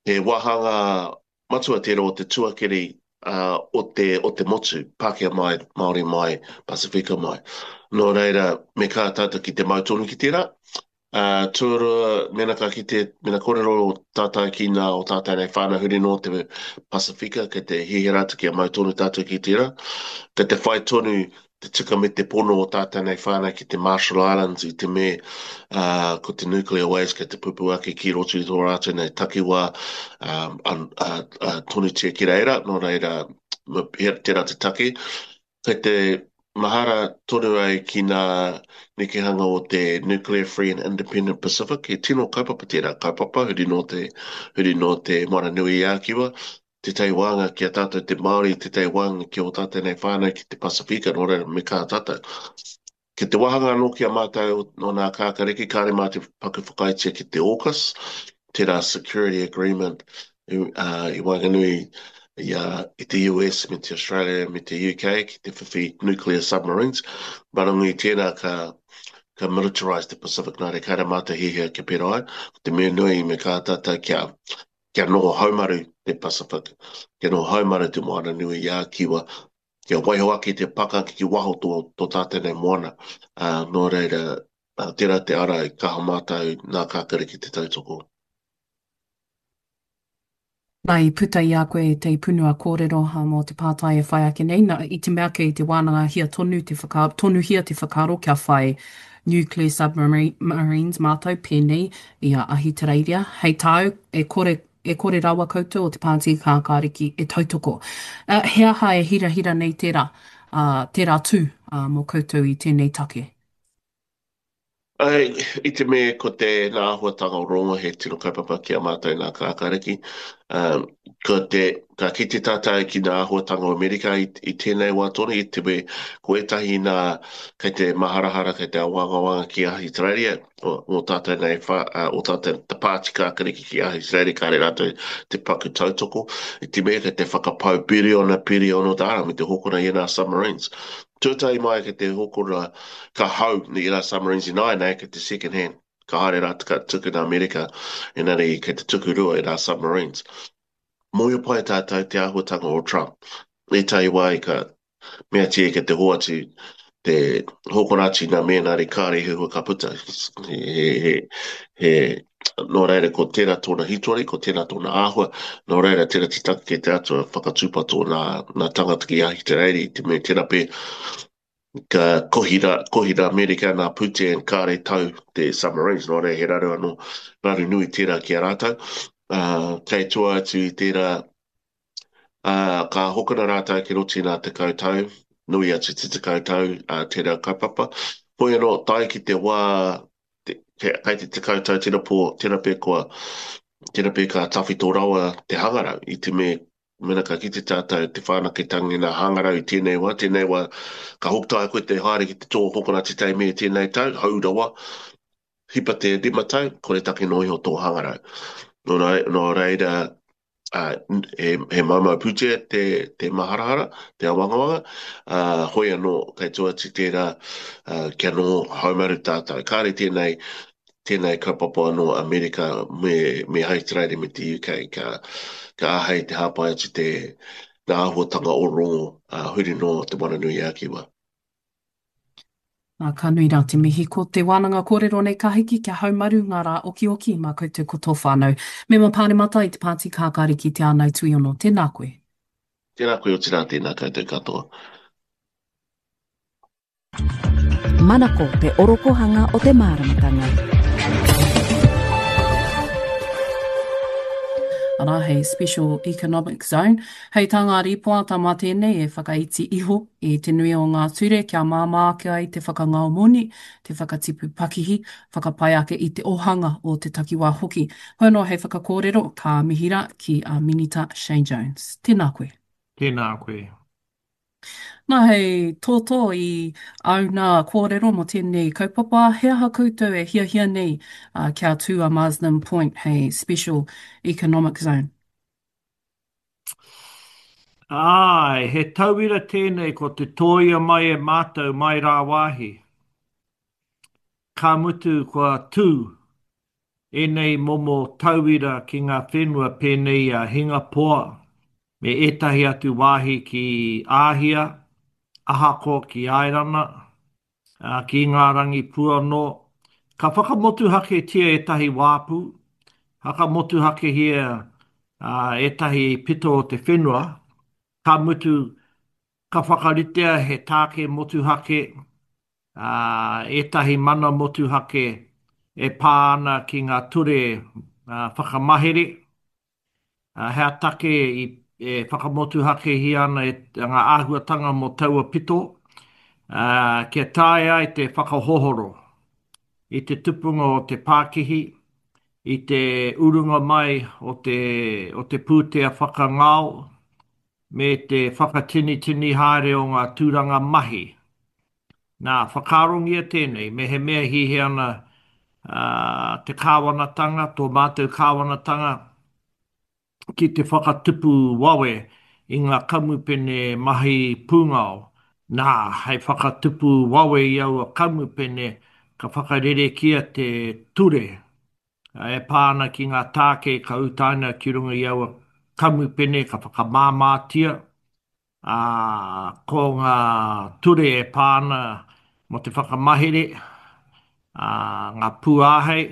he wāhanga matua tērā o te tuakiri uh, o, te, o te motu, Pākehā mai, Māori mai, Pasifika mai. Nō reira, me kā tātou ki te mau tonu ki tērā. Uh, tuarua, mena ka kite, mena kōrero tātou ki nā o tātou nei whānau huri nō te Pasifika, kei te hihira atu kia mau tonu tātou ki tērā. Kei te whai tonu te tika me te pono o tātou nei whānau ki te Marshall Islands i te me uh, ko te nuclear waste kei te pupu ake ki roto i tō rātou nei takiwā um, an, uh, uh, tonutia ki reira, nō reira tērā te take. Kei te mahara tonu ai ki ngā nekehanga o te Nuclear Free and Independent Pacific, he tino kaupapa tērā kaupapa, huri nō te, huri nō te Moana Nui a Kiwa, tētahi wānga ki a tātou te Māori, tētahi wānga ki ō tātou nei whānau ki te Pasifika, nō reira me kaha tātou. Ki te wāhanga anō ki a mātou nō nā kākariki, kāre mā te paku whakaaetia ki te AUKUS, tērā security agreement uh, i waenganui i, uh, i te U S me te Australia me te U K ki te whiwhi nuclear submarines. Marangu i tērā ka ka militarise te Pacific, nā reira kāre mātou hihia kia pērā ai. Ko te mea nui me kaha tātou kia kia noho haumaru te Pacific, kia noho haumaru te Moana Nui a Kiwa, kia waiho ake te pakanga ki waho tō, tō tātou nei moana. Uh, nō reira, uh, tērā te ara i kaha mātou nā kākariki te tautoko. Nā, i puta i a koe te punua kōrero mō te pātai e whai ake nei, nā, i te mea kei te wānangahia tonu te whaka, tonuhia te whakaaro kia whai nuclear submarines mātou pēnei i a Ahitereiria. Hei tāu, e kore, e kore rawa koutou o te Pāti Kākāriki e tautoko. Uh, he aha e hirahira nei tērā, uh, tērā tū uh, mō koutou i tēnei take? Ai, i te mea ko te nā āhuatanga o rongo he tino kaupapa ki a mātou nā kākāriki. Um, ko te, ka kite tātou ki nā āhuatanga o Amerika i, i tēnei wā tonu, i te mea ko ētahi nā kei te maharahara, kei te awangawanga ki Ahitereiria, o, o tātou nei, wha, uh, o tātou te pāti kākariki ki Ahitereiria, kāre rātou te paku tautoko. I te mea kei te whakapau piriona, piriona tāra me te hokona i nā submarines. Tuatahi mai kei te hokona ka hau i rā submarines ināianei kei te second hand. Ka haere rā ka tuku nā Amerika, engari kei te tuku rua i rā submarines. Mōhio pai tātou te āhuatanga o Trump. Ētahi wā i ka meatia kei te hoatu te hokona atu nā mēnari kāre he hua ka puta. He, he, he, he, nō reira ko tērā tōna hitori, ko tērā tōna āhua, nō reira tērā te take kei te atua whakatūpato nā, nā tangata ki Ahitereiria i te mea tērā pe ka kohi rā, kohi rā Amerika nā pūtea and kāre tau te submarines, nō reira he raru anō, raru nui tērā ki a rātou. Uh, kei tua atu i tērā, uh, ka hokona rātou ki roto i nā tekau tau, nui atu te tekau tau uh, tērā kaupapa. Hoi anō, tae ki te wā, te, kei te tekau tau tēnā pō, tēnā pē kua, tēnā pē ka tawhito rawa te hangarau, i te me, mena ka kite tātou te whanaketanga i ngā hangarau i tēnei wā, tēnei wā, ka hoki koe te haere ki te tō hokona tētahi me tēnei tau, hou rawa, hipa te rima tau, kore take noa iho tō hangarau. Nō, nō reira, uh, he, he maumau pūtea te, te maharahara, te awangawanga, uh, hoi anō, kei tua atu tērā, uh, kia noho haumaru tātou. Kāre tēnei, tēnei kaupapa anō Amerika me, me Ahitereiria me te U K ka, ka āhei te hāpai atu te ngā āhuatanga o rongo uh, huri noa te Moana Nui a Kiwa. Nā, ka nui rā te mihi. Ko te wānanga kōrero nei ka hiki kia haumaru ngā rā okioki mā koutou ko tō whānau. Mema Pāremata i te Pāti Kākāriki Te Ānai Tuiono, tēnā koe. Tēnā koe otirā, tēnā koutou katoa. Manako te orokohanga o te māramatanga. Arā, hei Special Economic Zone. Hei tā ngā rīpoata mā tēnei e whakaiti iho i te nui o ngā ture kia māmā ake ai te whakangao moni, te whakatipu pakihi, whakapai ake i te ōhanga o te takiwā hoki. Hoi anō hei whakakōrero, ka mihi rā ki a Minita Shane Jones. Tēnā koe. Tēnā koe. Nā, hei tōtō i āu nā kōrero mō tēnei kaupapa, he aha koutou e hiahia nei kia tū a Marsden Point hei Special Economic Zone? Āe, he tauira tēnei ko te tōia mai e mātou mai rāwāhi. Ka mutu kua tū ēnei momo tauira ki ngā whenua pēnei i a Hingapoa me ētahi atu wāhi ki Āhia, ahakoa ki Airana, ki Ingarangi pū anō. Ka whakamotuhaketia ētahi wāpu, whakamotuhakehia ētahi pito o te whenua, ka mutu ka whakaritea he tāke motuhake, ā, ētahi mana motuhake e pā ana ki ngā ture whakamahere, ā, he aha take i, e whakamotuhakehia ana e ngā āhuatanga mō taua pito, ā, kia taea ai te whakahohoro i te tupunga o te pākihi, i te urunga mai o te, o te pūtea whakangao, me te whakatinitini haere o ngā tūranga mahi. Nā, whakaarongia tēnei, mehemea hiahia ana te kāwanatanga, tō mātou kāwanatanga, ki te whakatupu wawe i ngā kamupene mahi pūngao, nā, hei whakatupu wawe i aua kamupene, ka whakarerekia te ture e pā ana ki ngā tāke ka utaina ki runga i aua kamupene, ka whakamāmātia. Ā, ko ngā ture e pā ana mō te whakamahere, ā, ngā pūāhei,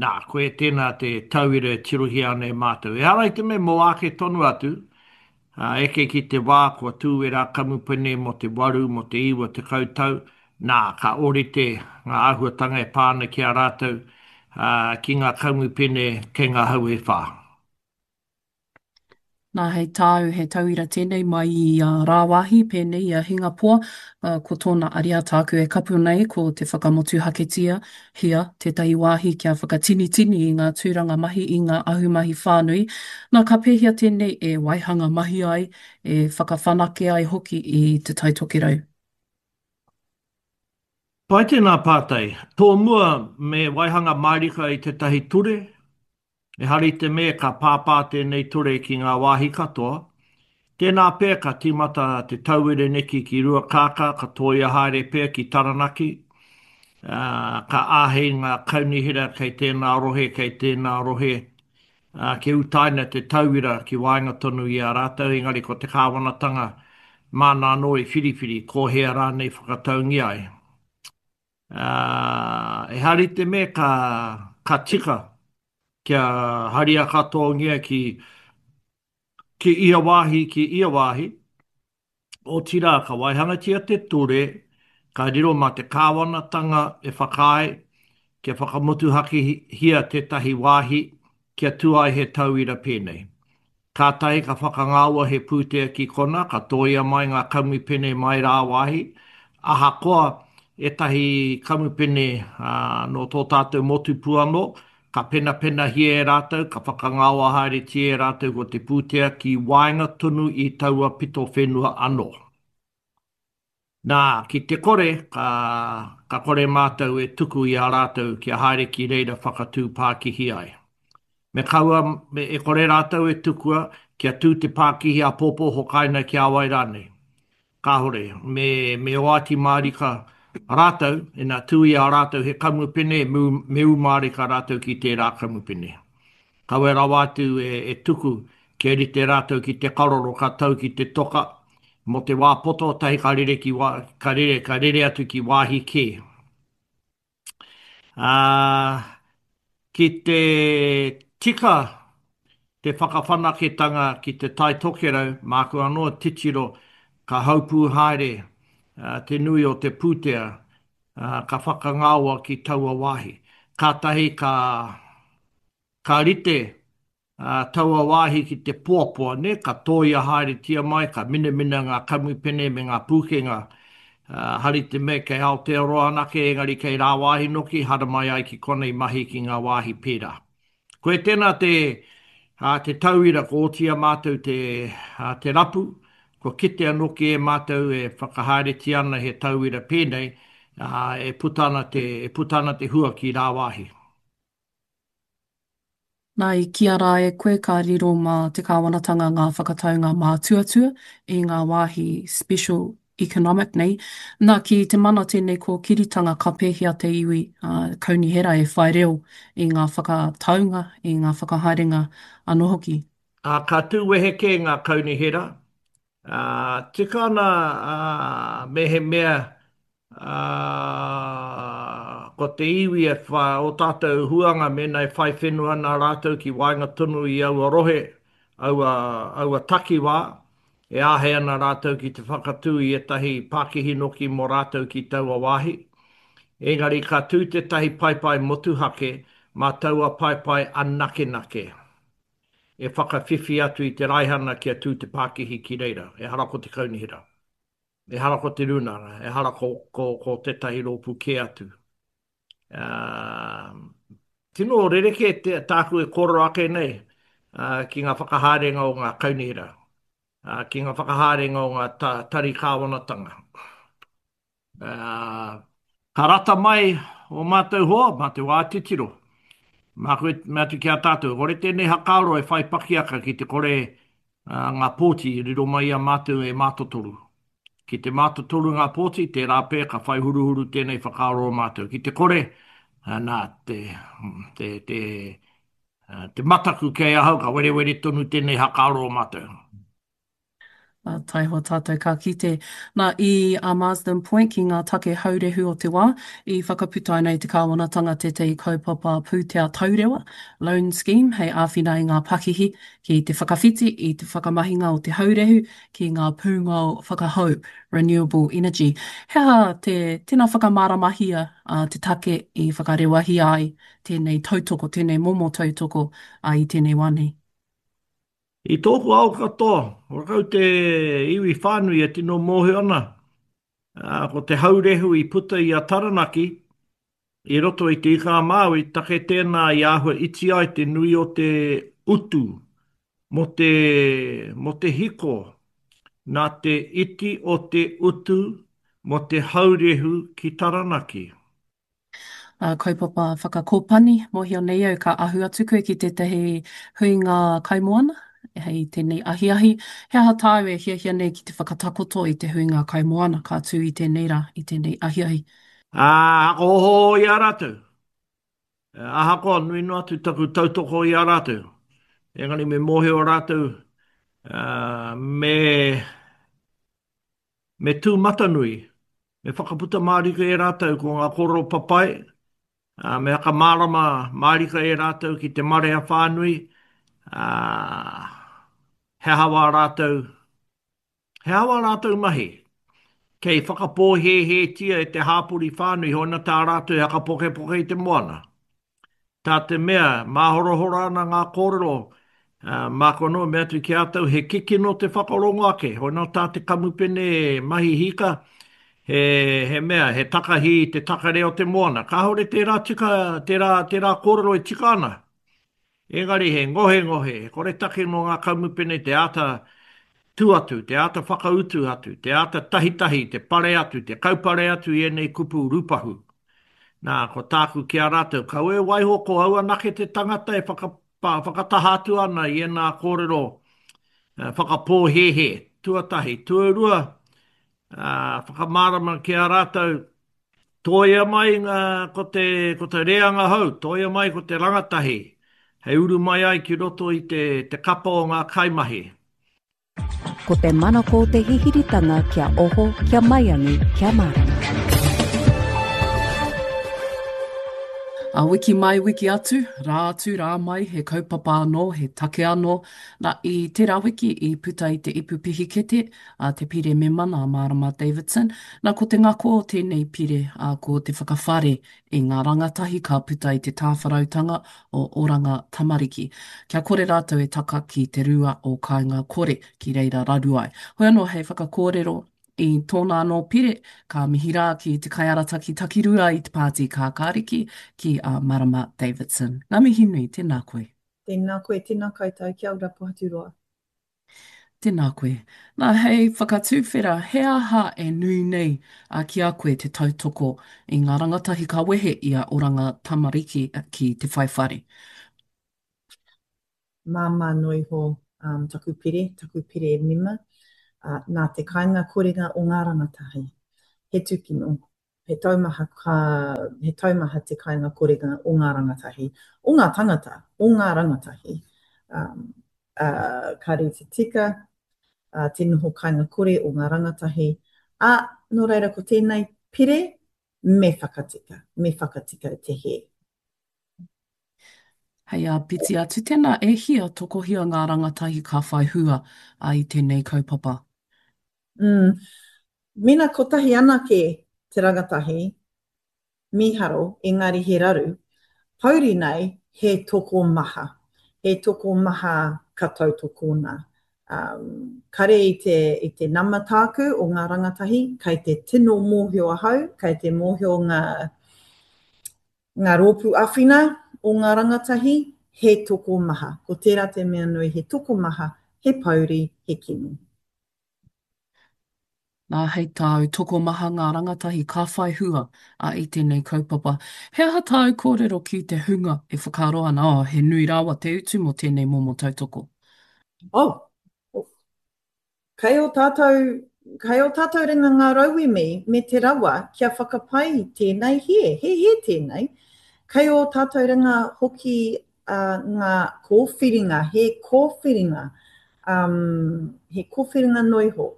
nā, koia tēnā te tauira e tirohia ana e mātou. Ehara i te mea mō āke tonu atu, ā, eke ki te wā kua tū ērā kamupene mō te waru, mō te iwa tekau tau, nā, ka ōrite ngā āhuatanga e pā ana ki a rātou, ā, ki ngā kamupene kei ngā hau e whā. Nā, hei tāu, he tauira tēnei mai i a rāwāhi, pēnei i a Hingapoa, ko tōna ariā tāku e kapu nei, ko te whakamotuhaketia, hia, tētahi wāhi kia whakatinitini i ngā tūranga mahi i ngā ahumahi whānui. Nā, ka pēhea tēnei e waihanga mahi ai, e whakawhanake ai hoki i Te Tai Tokerau? Pai tēnā pātai. Tōmua me waihanga mārika i tētahi ture, Ehara i te mea ka pāpā tēnei ture ki ngā wāhi katoa, tēnā pea ka tīmata te tauira neki ki Ruakākā, ka tōia haere pea ki Taranaki, ā, ka āhei ngā kaunihera kei tēnā rohe, kei tēnā rohe, ā, kia utaina te tauira ki waenga tonu i a rātou, engari ko te kāwanatanga māna anō i whiriwhiri ko hea rānei whakataungia ai. Ā, ehara i te mea ka, ka tika kia haria katoangia ki, ki ia wāhi, ki ia wāhi, otirā ka waihangatia te ture, ka riro mā te kāwanatanga e whakaae kia whakamotuhakehia tētahi wāhi kia tū ai he tauira pēnei. Kātahi ka whakangaoa he pūtea ki kona, ka tōia mai ngā kamupene mai rāwāhi, ahakoa ētahi kamupene nō tō tātou motu pū anō, ka penapenahia e rātou, ka whakangaoa haeretia e rātou ko te pūtea ki waenga tonu i taua pito whenua anō. Nā, ki te kore, ka, ka kore mātou e tuku i a rātou kia haere ki reira whakatū pākihi ai. Me kaua, me, e kore rātou e tukua kia tū te pākihi āpōpō hokaina ki a wai rānei. Kāore, me, me oati mārika rātou, ina tū i a rātou he kamupene, me, me ū mārika rātou ki tērā kamupene. Kawe rawa atu e, e tuku kia rite rātou ki te karoro ka tau ki te toka, mō te wā poto tahi ka rere ki wā, ka rere, ka rere atu ki wāhi kē. Ā, ki te tika te whakawhanaketanga ki Te Tai Tokerau, māku anō titiro ka haupū haere te nui o te pūtea ka whakangaoa ki taua wāhi. Kātahi ka, ka rite taua wāhi ki te poapoa, nē, ka tōia haeretia mai, ka minamina ngā kamupene me ngā pūkenga, hari te mea kei Aotearoa anake, engari kei rāwāhi noki, haramai ai ki konei mahi ki ngā wāhi pērā. Koe tēnā te, te tauira ko oti a mātou te, te rapu, Kua kitea noki e mātou e whakahaeretia ana he tauira pēnei, ā, e puta ana te, e puta ana te hua ki rāwāhi. Nā, i kīia rā e koe ka riro mā te kāwanatanga ngā whakataunga mātuatua i ngā wāhi special economic nei. Nā, ki te mana tēnei kōkiritanga ka pēhea te iwi kaunihera e whai reo i ngā whakataunga, i ngā whakahaerenga anō hoki? Ā, ka tū wehe kē ngā kaunihera, ā, tika ana, ā, mehemea Ā, ko te iwi e wha, ō tātou huanga mēnā e whai whenua ana rātou ki waenga tonu i aua rohe, aua, aua takiwā, e āhei ana rātou ki te whakatū i ētahi pākihi noki mō rātou ki taua wāhi. Engari ka tū tētahi paepae motuhake mā taua paepae anakenake e whakawhiwhi atu i te raihana kia tū te pākihi ki reira, ehara ko te kaunihera. Ehara ko te rūnanga, ehara ko, ko, ko tētahi rōpū kē atu. Uh, tino rerekē te, tāku e kōrero ake nei uh, ki ngā whakahaerenga o ngā kaunihera, uh, ki ngā whakahaerenga o ngā ta, tari kāwanatanga. Uh, ka rata mai o mātou hoa, mā te wā titiro. Māku e mea atu ki a tātou, kore tēnei hakaaro e whai pakiaka ki te kore ngā pōti i riro mai i a mātou e mātotoru. Ki te mātotoru ngā pōti, tērā pea ka whai huruhuru tēnei whakaaro o mātou. Ki te kore, nā, te, te, te, te mataku kei ahau ka werewere tonu tēnei hakaaro o mātou. Ā, taihoa tātou ka kite. Nā, i a Marsden Point ki ngā take haurehu o te wā, i whakaputaina e te kāwanatanga tētahi kaupapa pūtea taurewa, loan scheme, hei āwhina i ngā pakihi ki te whakawhiti i te whakamahinga o te haurehu ki ngā pūngao whakahou, renewable energy. He aha te, tēnā whakamāramahia te take i whakarewahia ai tēnei tautoko, tēnei momo tautoko i tēnei wā nei? I tōku ao katoa, horakau te iwi whānui e tino mōhio ana, ko te haurehu i puta i a Taranaki i roto i Te Ika-a-Māui, take tēnā i āhua iti ai te nui o te utu mō te, mō te hiko, nā te iti o te utu mō te haurehu ki Taranaki. Ā, kaupapa whakakōpani, mōhio nei au ka ahu atu koe ki tētahi huinga kaimoana hei tēnei ahiahi. He aha tāu e hiahia nei ki te whakatakoto i te huinga kaimoana ka tū i tēnei rā, i tēnei ahiahi? Ā, whakaohooho i a rātou. Ahakoa nui noa atu taku tautoko i a rātou, engari me mōhio rātou, ā, me, me tūmatanui, me whakaputa mārika e rātou ko ngā kōrero papai, ā, me whakamārama mārika e rātou ki te marea whānui, ā, he aha wā rātou, he aha wā rātou mahi. Kei whakapōhēhētia e te hāpori whānui hoina tā rātou e whakapokepoke i te moana. Tā te mea, māhorahora ana ngā kōrero, ā, māku anō e mea atu ki a tou, he kikino te whakarongo ake, hoi nō tā te kamupene mahi hika, he, he mea, he takahi i te takare o te moana. Kāore tērā tika, tērā, tērā kōrero e tika ana. Engari he ngohengohe, he koretake nō ngā kamupene te āta tū atu, te āta whakautu atu, te āta tahitahi, te pare atu, te kaupare atu i ēnei kupu rūpahu. Nā, ko tāku ki a rātou, kaua e waiho ko au anake te tangata e whakataha atu ana i ēnā kōrero whakapōhēhē, tuatahi. Tuarua, whakamārama ki a rātou, tōia mai ngā, ko te, ko te reanga hou, tōia mai ko te rangatahi, hei uru mai ai ki roto i te, te kapa o ngā kaimahi. Ko te manako o te hihiritanga kia oho, kia maiangi, kia mārama. A wiki mai, wiki atu, rā atu, rā mai, he kaupapa anō, he take anō. Nā, i tērā wiki i puta i te ipu pihikete a te pire mema nā Marama Davidson. Nā, ko te ngako o tēnei pire, ā, ko te whakawhare i ngā rangatahi ka puta i te tāwharautanga o Oranga Tamariki. Kia kore rātou e taka ki te rua o Kāinga Kore, ki reira raru ai. Hoi anō hei whakakōrero i tōna anō pire, ka mihi rā ki te kaiarataki takirua i te Pāti Kākāriki, ki a Marama Davidson. Ngā mihi nui, tēnā koe. Tēnā koe, tēnā koutou, kia ora Pohaturoa. Tēnā koe. Nā, hei whakatuwhera, he aha e nui nei ki a koe te tautoko i ngā rangatahi ka wehe i a Oranga Tamariki ki te whai whare? Māmā noa iho um, taku pere, taku pere mema, uh, nā te kainga korenga o ngā rangatahi. He tūkino, he taumaha, ka, he taumaha te kainga korenga o ngā rangatahi, o ngā tangata, o ngā rangatahi. Um, uh, kāre te tika, uh, te noho kainga kore o ngā rangatahi. Ā, nō reira ko tēnei pere, me whakatika, me whakatika te hē. Hei āpiti atu, tēnā e hia tokohia ngā rangatahi ka whai hua i tēnei kaupapa? Mm. Mena kotahi anake te rangatahi, mīharo, engari he raru, pouri nei he tokomaha. He tokomaha ka tautokona. Um, kare i te, i te nama tāku o ngā rangatahi, kei te tino mōhio ahau, kei te mōhio ngā, ngā rōpū āwhina o ngā rangatahi, he tokomaha. Ko tērā te mea nui, he tokomaha, he pouri, he kino. Nā, hei tāu, tokomaha ngā rangatahi ka whai hua i tēnei kaupapa. He aha tāu kōrero ki te hunga e whakaaro ana, oh, he nui rawa te utu mō tēnei momo tautoko? Oh, Kei ō tātou, kei ō tātou ringa ngā rauemi me te rawa kia whakapai i tēnei hē, he hē tēnei. Kei ō tātou ringa hoki uh, ngā kōwhiringa, he kōwhiringa, um, he kōwhiringa noa iho.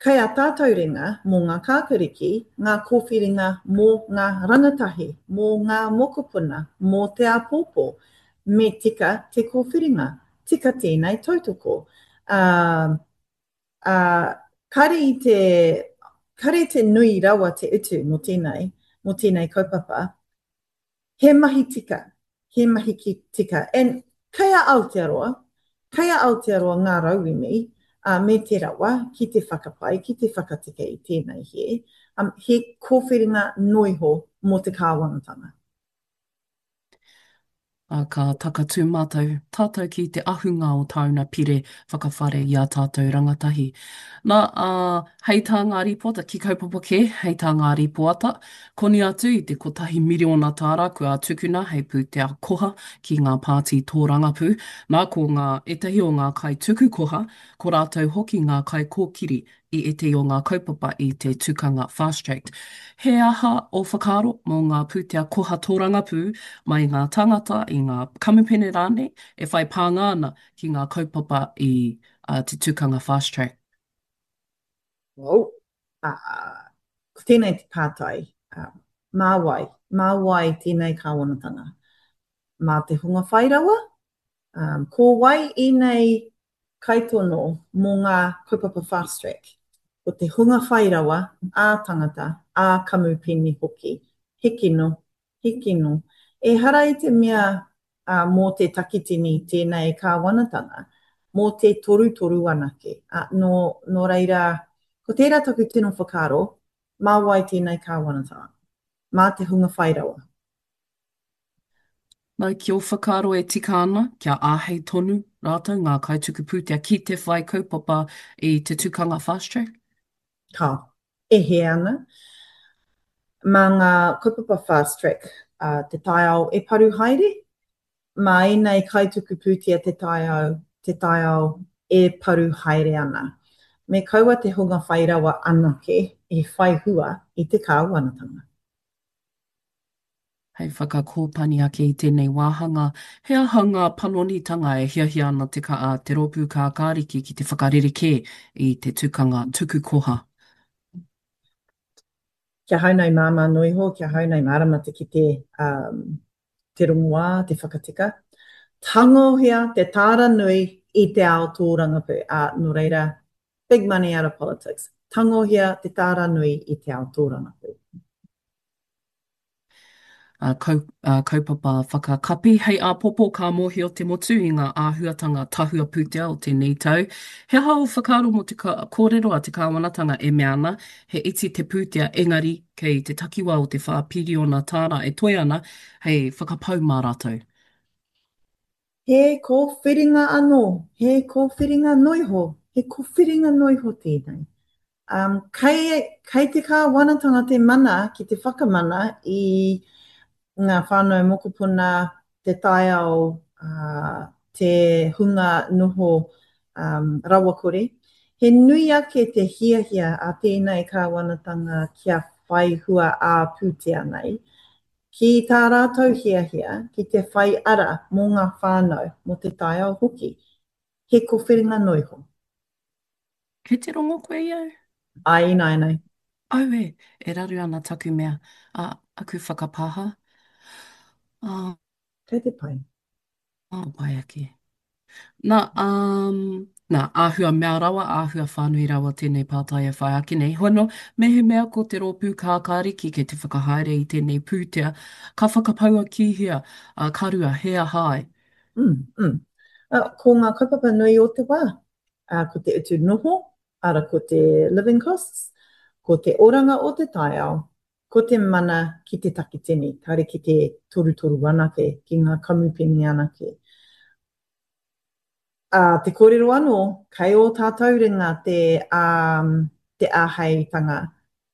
Kei a tātou ringa mō ngā kākariki, ngā kōwhiringa mō ngā rangatahi, mō ngā mokopuna, mō te āpōpō. Me tika te kōwhiringa. Tika tēnei tautoko. Ā, ā, kare i te, kare i te nui rawa te utu mō tēnei, mō tēnei kaupapa. He mahi tika, he mahi ki tika. And kei a Aotearoa, kei a Aotearoa ngā rauemi, ā, me te rawa ki te whakapai, ki te whakatika i tēnei hē. Um, he kōwhiringa noa iho mō te kāwanatanga. Ā, ka takatū mātou, tātou ki te ahunga o tāuna pire whakawhare i ā tātou rangatahi. Nā, ā, hei tā ngā rīpoata, ki kaupapa kē, hei tā ngā rīpoata, koni atu i te kotahi miriona tāra kua tukuna hei pūtea koha ki ngā pāti tōrangapū. Nā, ko ngā, ētahi o ngā kaituku koha, ko rātou hoki ngā kaikōkiri i ētahi o ngā kaupapa i te tukanga Fast Track. He aha ō whakaaro mō ngā pūtea koha tōrangapū mai i ngā tāngata, i ngā kamupene rānei e whai pānga ana ki ngā kaupapa i te tukanga Fast Track? Oh, ko tēnei te pātai, mā wai? Mā wai tēnei kāwanatanga? Mā te hunga whai rawa? Ko wai ēnei kaitono mō ngā kaupapa Fast Track? Ko te hunga whai rawa, ā-tangata, ā-kamupene hoki. He kino, he kino. Ehara i te mea mō te takitini tēnei kāwanatanga, mō te torutoru anake. Nō, nō reira, ko tērā taku tino whakaaro, mā wai tēnei kāwanatanga? Mā te hunga whai rawa. Nā, ki ō whakaaro e tika ana kia āhei tonu rātou ngā kaituku pūtea ki te whai kaupapa i te tukanga Fast Track? Ka. E hē ana. Mā ngā kaupapa Fast Track te taiao e paru haere, mā ēnei kaituku pūtea te taiao, te taiao e paru haere ana. Me kaua te hunga whai rawa anake e whai hua i te kāwanatanga. Hei whakakōpani ake i tēnei wāhanga, he aha ngā panonitanga e hiahia ana te ka, te Rōpū Kākāriki ki te whakarerekē i te tukanga tuku koha? Kia hau nei māmā noa iho, kia hau nei mārama te kite um, te rongoā, te whakatika. Tangohia te tāra nui i te ao tōrangapū. Ā, nō reira, big money out of politics. Tangohia te tāra nui i te ao tōrangapū. Kau, kaupapa whakakapi. Hei āpōpō ka mōhio te motu i ngā āhuatanga tahua pūtea o tēnei tau. He aha ō whakaaro mō te kōrero a te kāwanatanga e mea ana he iti te pūtea engari kei te takiwā o te whā piriona tāra e toe ana hei whakapau mā rātou? He kōwhiringa anō, he kōwhiringa noiho, he kōwhiringa noiho tēnei. Um, kei, kei te kāwanatanga te mana ki te whakamana i ngā whānau mokopuna, te taiao, uh, te hunga noho um, rawakore. He nui ake te hiahia a tēnei kāwanatanga kia whai hua ā-pūtea nei, ki tā rātou hiahia ki te whai ara mō ngā whānau, mō te taiao hoki. He kowhiringa noiho. Kei te rongo koe i au? Āe ināianei. Auē, e raru ana taku mea, ā, aku whakapāha, ā. Kei te pai. Ā, pai ake. Nā, um, nā, āhua mea rawa, āhua whānui rawa tēnei pātai e whai ake nei. Hoi anō, mehemea ko te rōpū kākāriki kei te whakahaere i tēnei pūtea, ka whakapaua ki hea, ā, ka rua, he aha ai? Mm, mm. Uh, ko ngā kaupapa nui o te wā, uh, ko te utu noho, ara ko te living costs, ko te oranga o te taiao, ko te mana ki te takitini, kāre ki te torutoru anake, ki ngā kamupene anake. Ā, te kōrero anō, kei ō tātou ringa te, ā, te āheitanga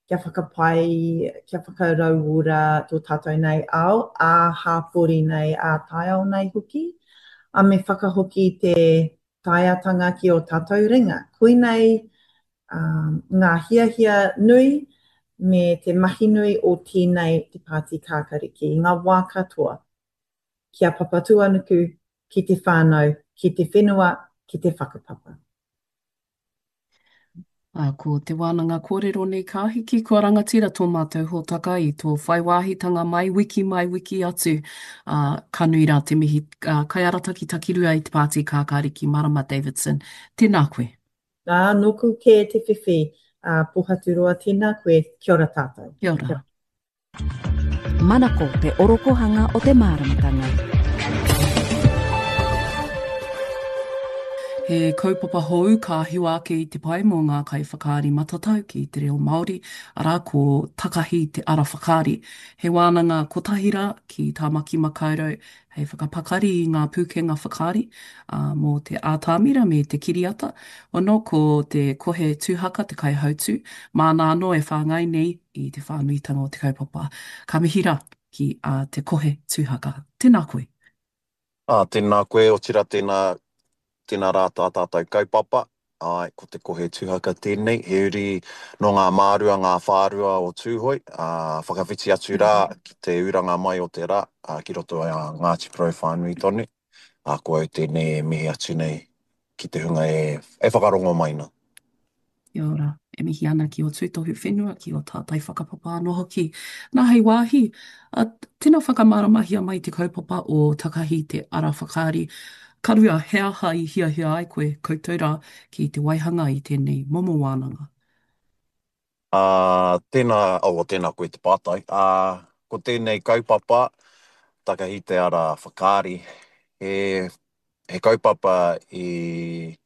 kia whakapai, kia whakarauora tō tātou nei ao, ā-hāpori nei, ā-taiao nei hoki, ā, me whakahoki te taeatanga ki ō tātou ringa. Koinei, ā, ngā hiahia nui me te mahi nui o tēnei te Pāti Kākariki i ngā wā katoa. Ki a Papatūānuku, ki te whānau, ki te whenua, ki te whakapapa. Ā, ko te wānanga kōrero nei ka hiki, kua rangatira tō mātou hōtaka i tō whai wāhitanga mai, wiki mai, wiki atu. Ā, ka nui rā te mihi, ā, kaiarataki takirua i te Pāti Kākāriki Marama Davidson. Tēnā koe. Ā, nōku kē te whiwhi, ā, Pōhaturoa, tēnā koe, kia ora tātou. Kia ora. Manako te orokohanga o te māramatanga. He kaupapa hou ka hiwa ake i te pae mō ngā kaiwhakaari matatau ki te reo Māori, arā, ko Takahi te Ara Whakaari. He wānanga kotahi rā ki Tāmaki Makaurau hei whakapakari i ngā pūkenga whakaari, ā, mō te ātamira me te kiriata. Ono, ko te Kohe Tūhaka te kaihautū, māna anō e whāngai nei i te whānuitanga o te kaupapa. Ka mihi rā ki a Te Kohe Tūhaka. Tēnā koe. Ā, tēnā koe, otirā tēnā, tēnā rā tā tātou kaupapa. Āe, ko Te Kohe Tuhaka tēnei, he uri nō ngā mārua, ngā whārua o Tūhoe, ā, whakawhiti atu rā ki te uranga mai o te rā, ā, ki roto i a Ngāti Porou whānui tonu. Ā, ko au tēnei e mihi atu nei ki te hunga e, e whakarongo mai nā. Kia ora. E mihi ana ki ō tūtohu whenua, ki ō tātai whakapapa anō hoki. Nā, hei wāhi, a, tino whakamāramahia mai te kaupapa o Takahi te Ara Whakaari. Ka rua, he aha i hiahia ai koe, koutou rā, ki te waihanga i tēnei momo wānanga? Ā, tēnā, oh, tēnā koe te pātai. Ā, ko tēnei kaupapa, Takahi te Ara Whakaari, he, he kaupapa i,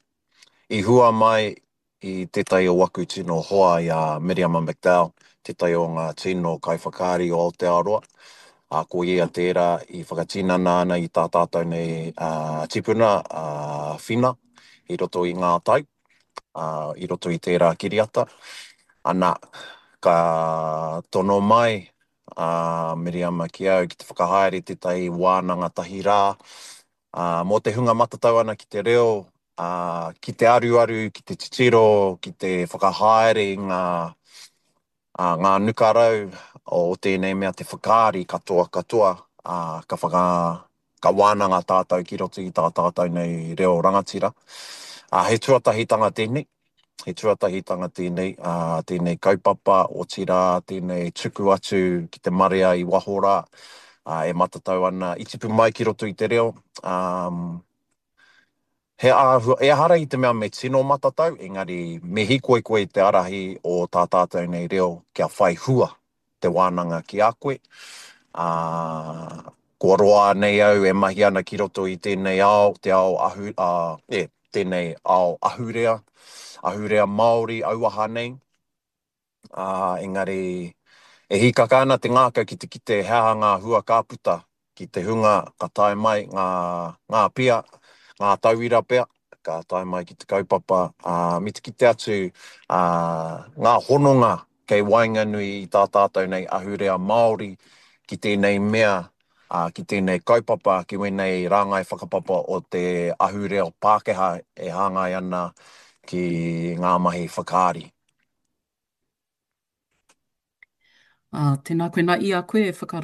i hua mai i tētahi o waku tino hoa i a Miriama McDowell, tētahi o ngā tino kaiwhakaari o Aotearoa. Ā, ko ia tērā i whakatinana ana i tā tātou nei tipuna, a Whina, i roto i ngā tau, ā, i roto i tērā kiriata. Ana, ka tono mai a Miriama ki au ki te whakahaere tētahi wānanga tahi rā, Ā, mō te hunga matatau ana ki te reo, ā, ki te aruaru, ki te titiro, ki te whakahaere i ngā, ā, ngā nukarau o tēnei mea te whakaari katoa katoa, ā, ka whaka, ka wānanga tātou ki roto i tā tātou nei reo rangatira. Ā, he tuatahitanga tēnei. He tuatahitanga tēnei, ā, tēnei kaupapa, otirā, tēnei tuku atu ki te marea i waho rā, ā, e matatau ana, i tipu mai ki roto i te reo, ā, he āhua, ehara i te mea me tino matatau, engari me hīkoi koe i te arahi o tā tātou nei reo kia whai hua te wānanga ki a koe, ā, kua roa nei au e mahi ana ki roto i tēnei ao, te ao ahu, ā, e, tēnei ao ahurea, ahurea Māori auaha nei, ā, engari e hīkaka ana te ngākau ki te kite he aha ngā hua ka puta ki te hunga ka tae mai ngā, ngā pia, ngā tauira pea, ka tae mai ki te kaupapa, ā, me te kite atu, ā, ngā hononga kei waenganui i tā tātou nei ahurea Māori ki tēnei mea, ā, ki tēnei kaupapa, ki wēnei rāngai whakapapa o te ahurea Pākehā e hāngai ana ki ngā mahi whakaari. Ā, tēnā koe. Nā, i a koe e whakarato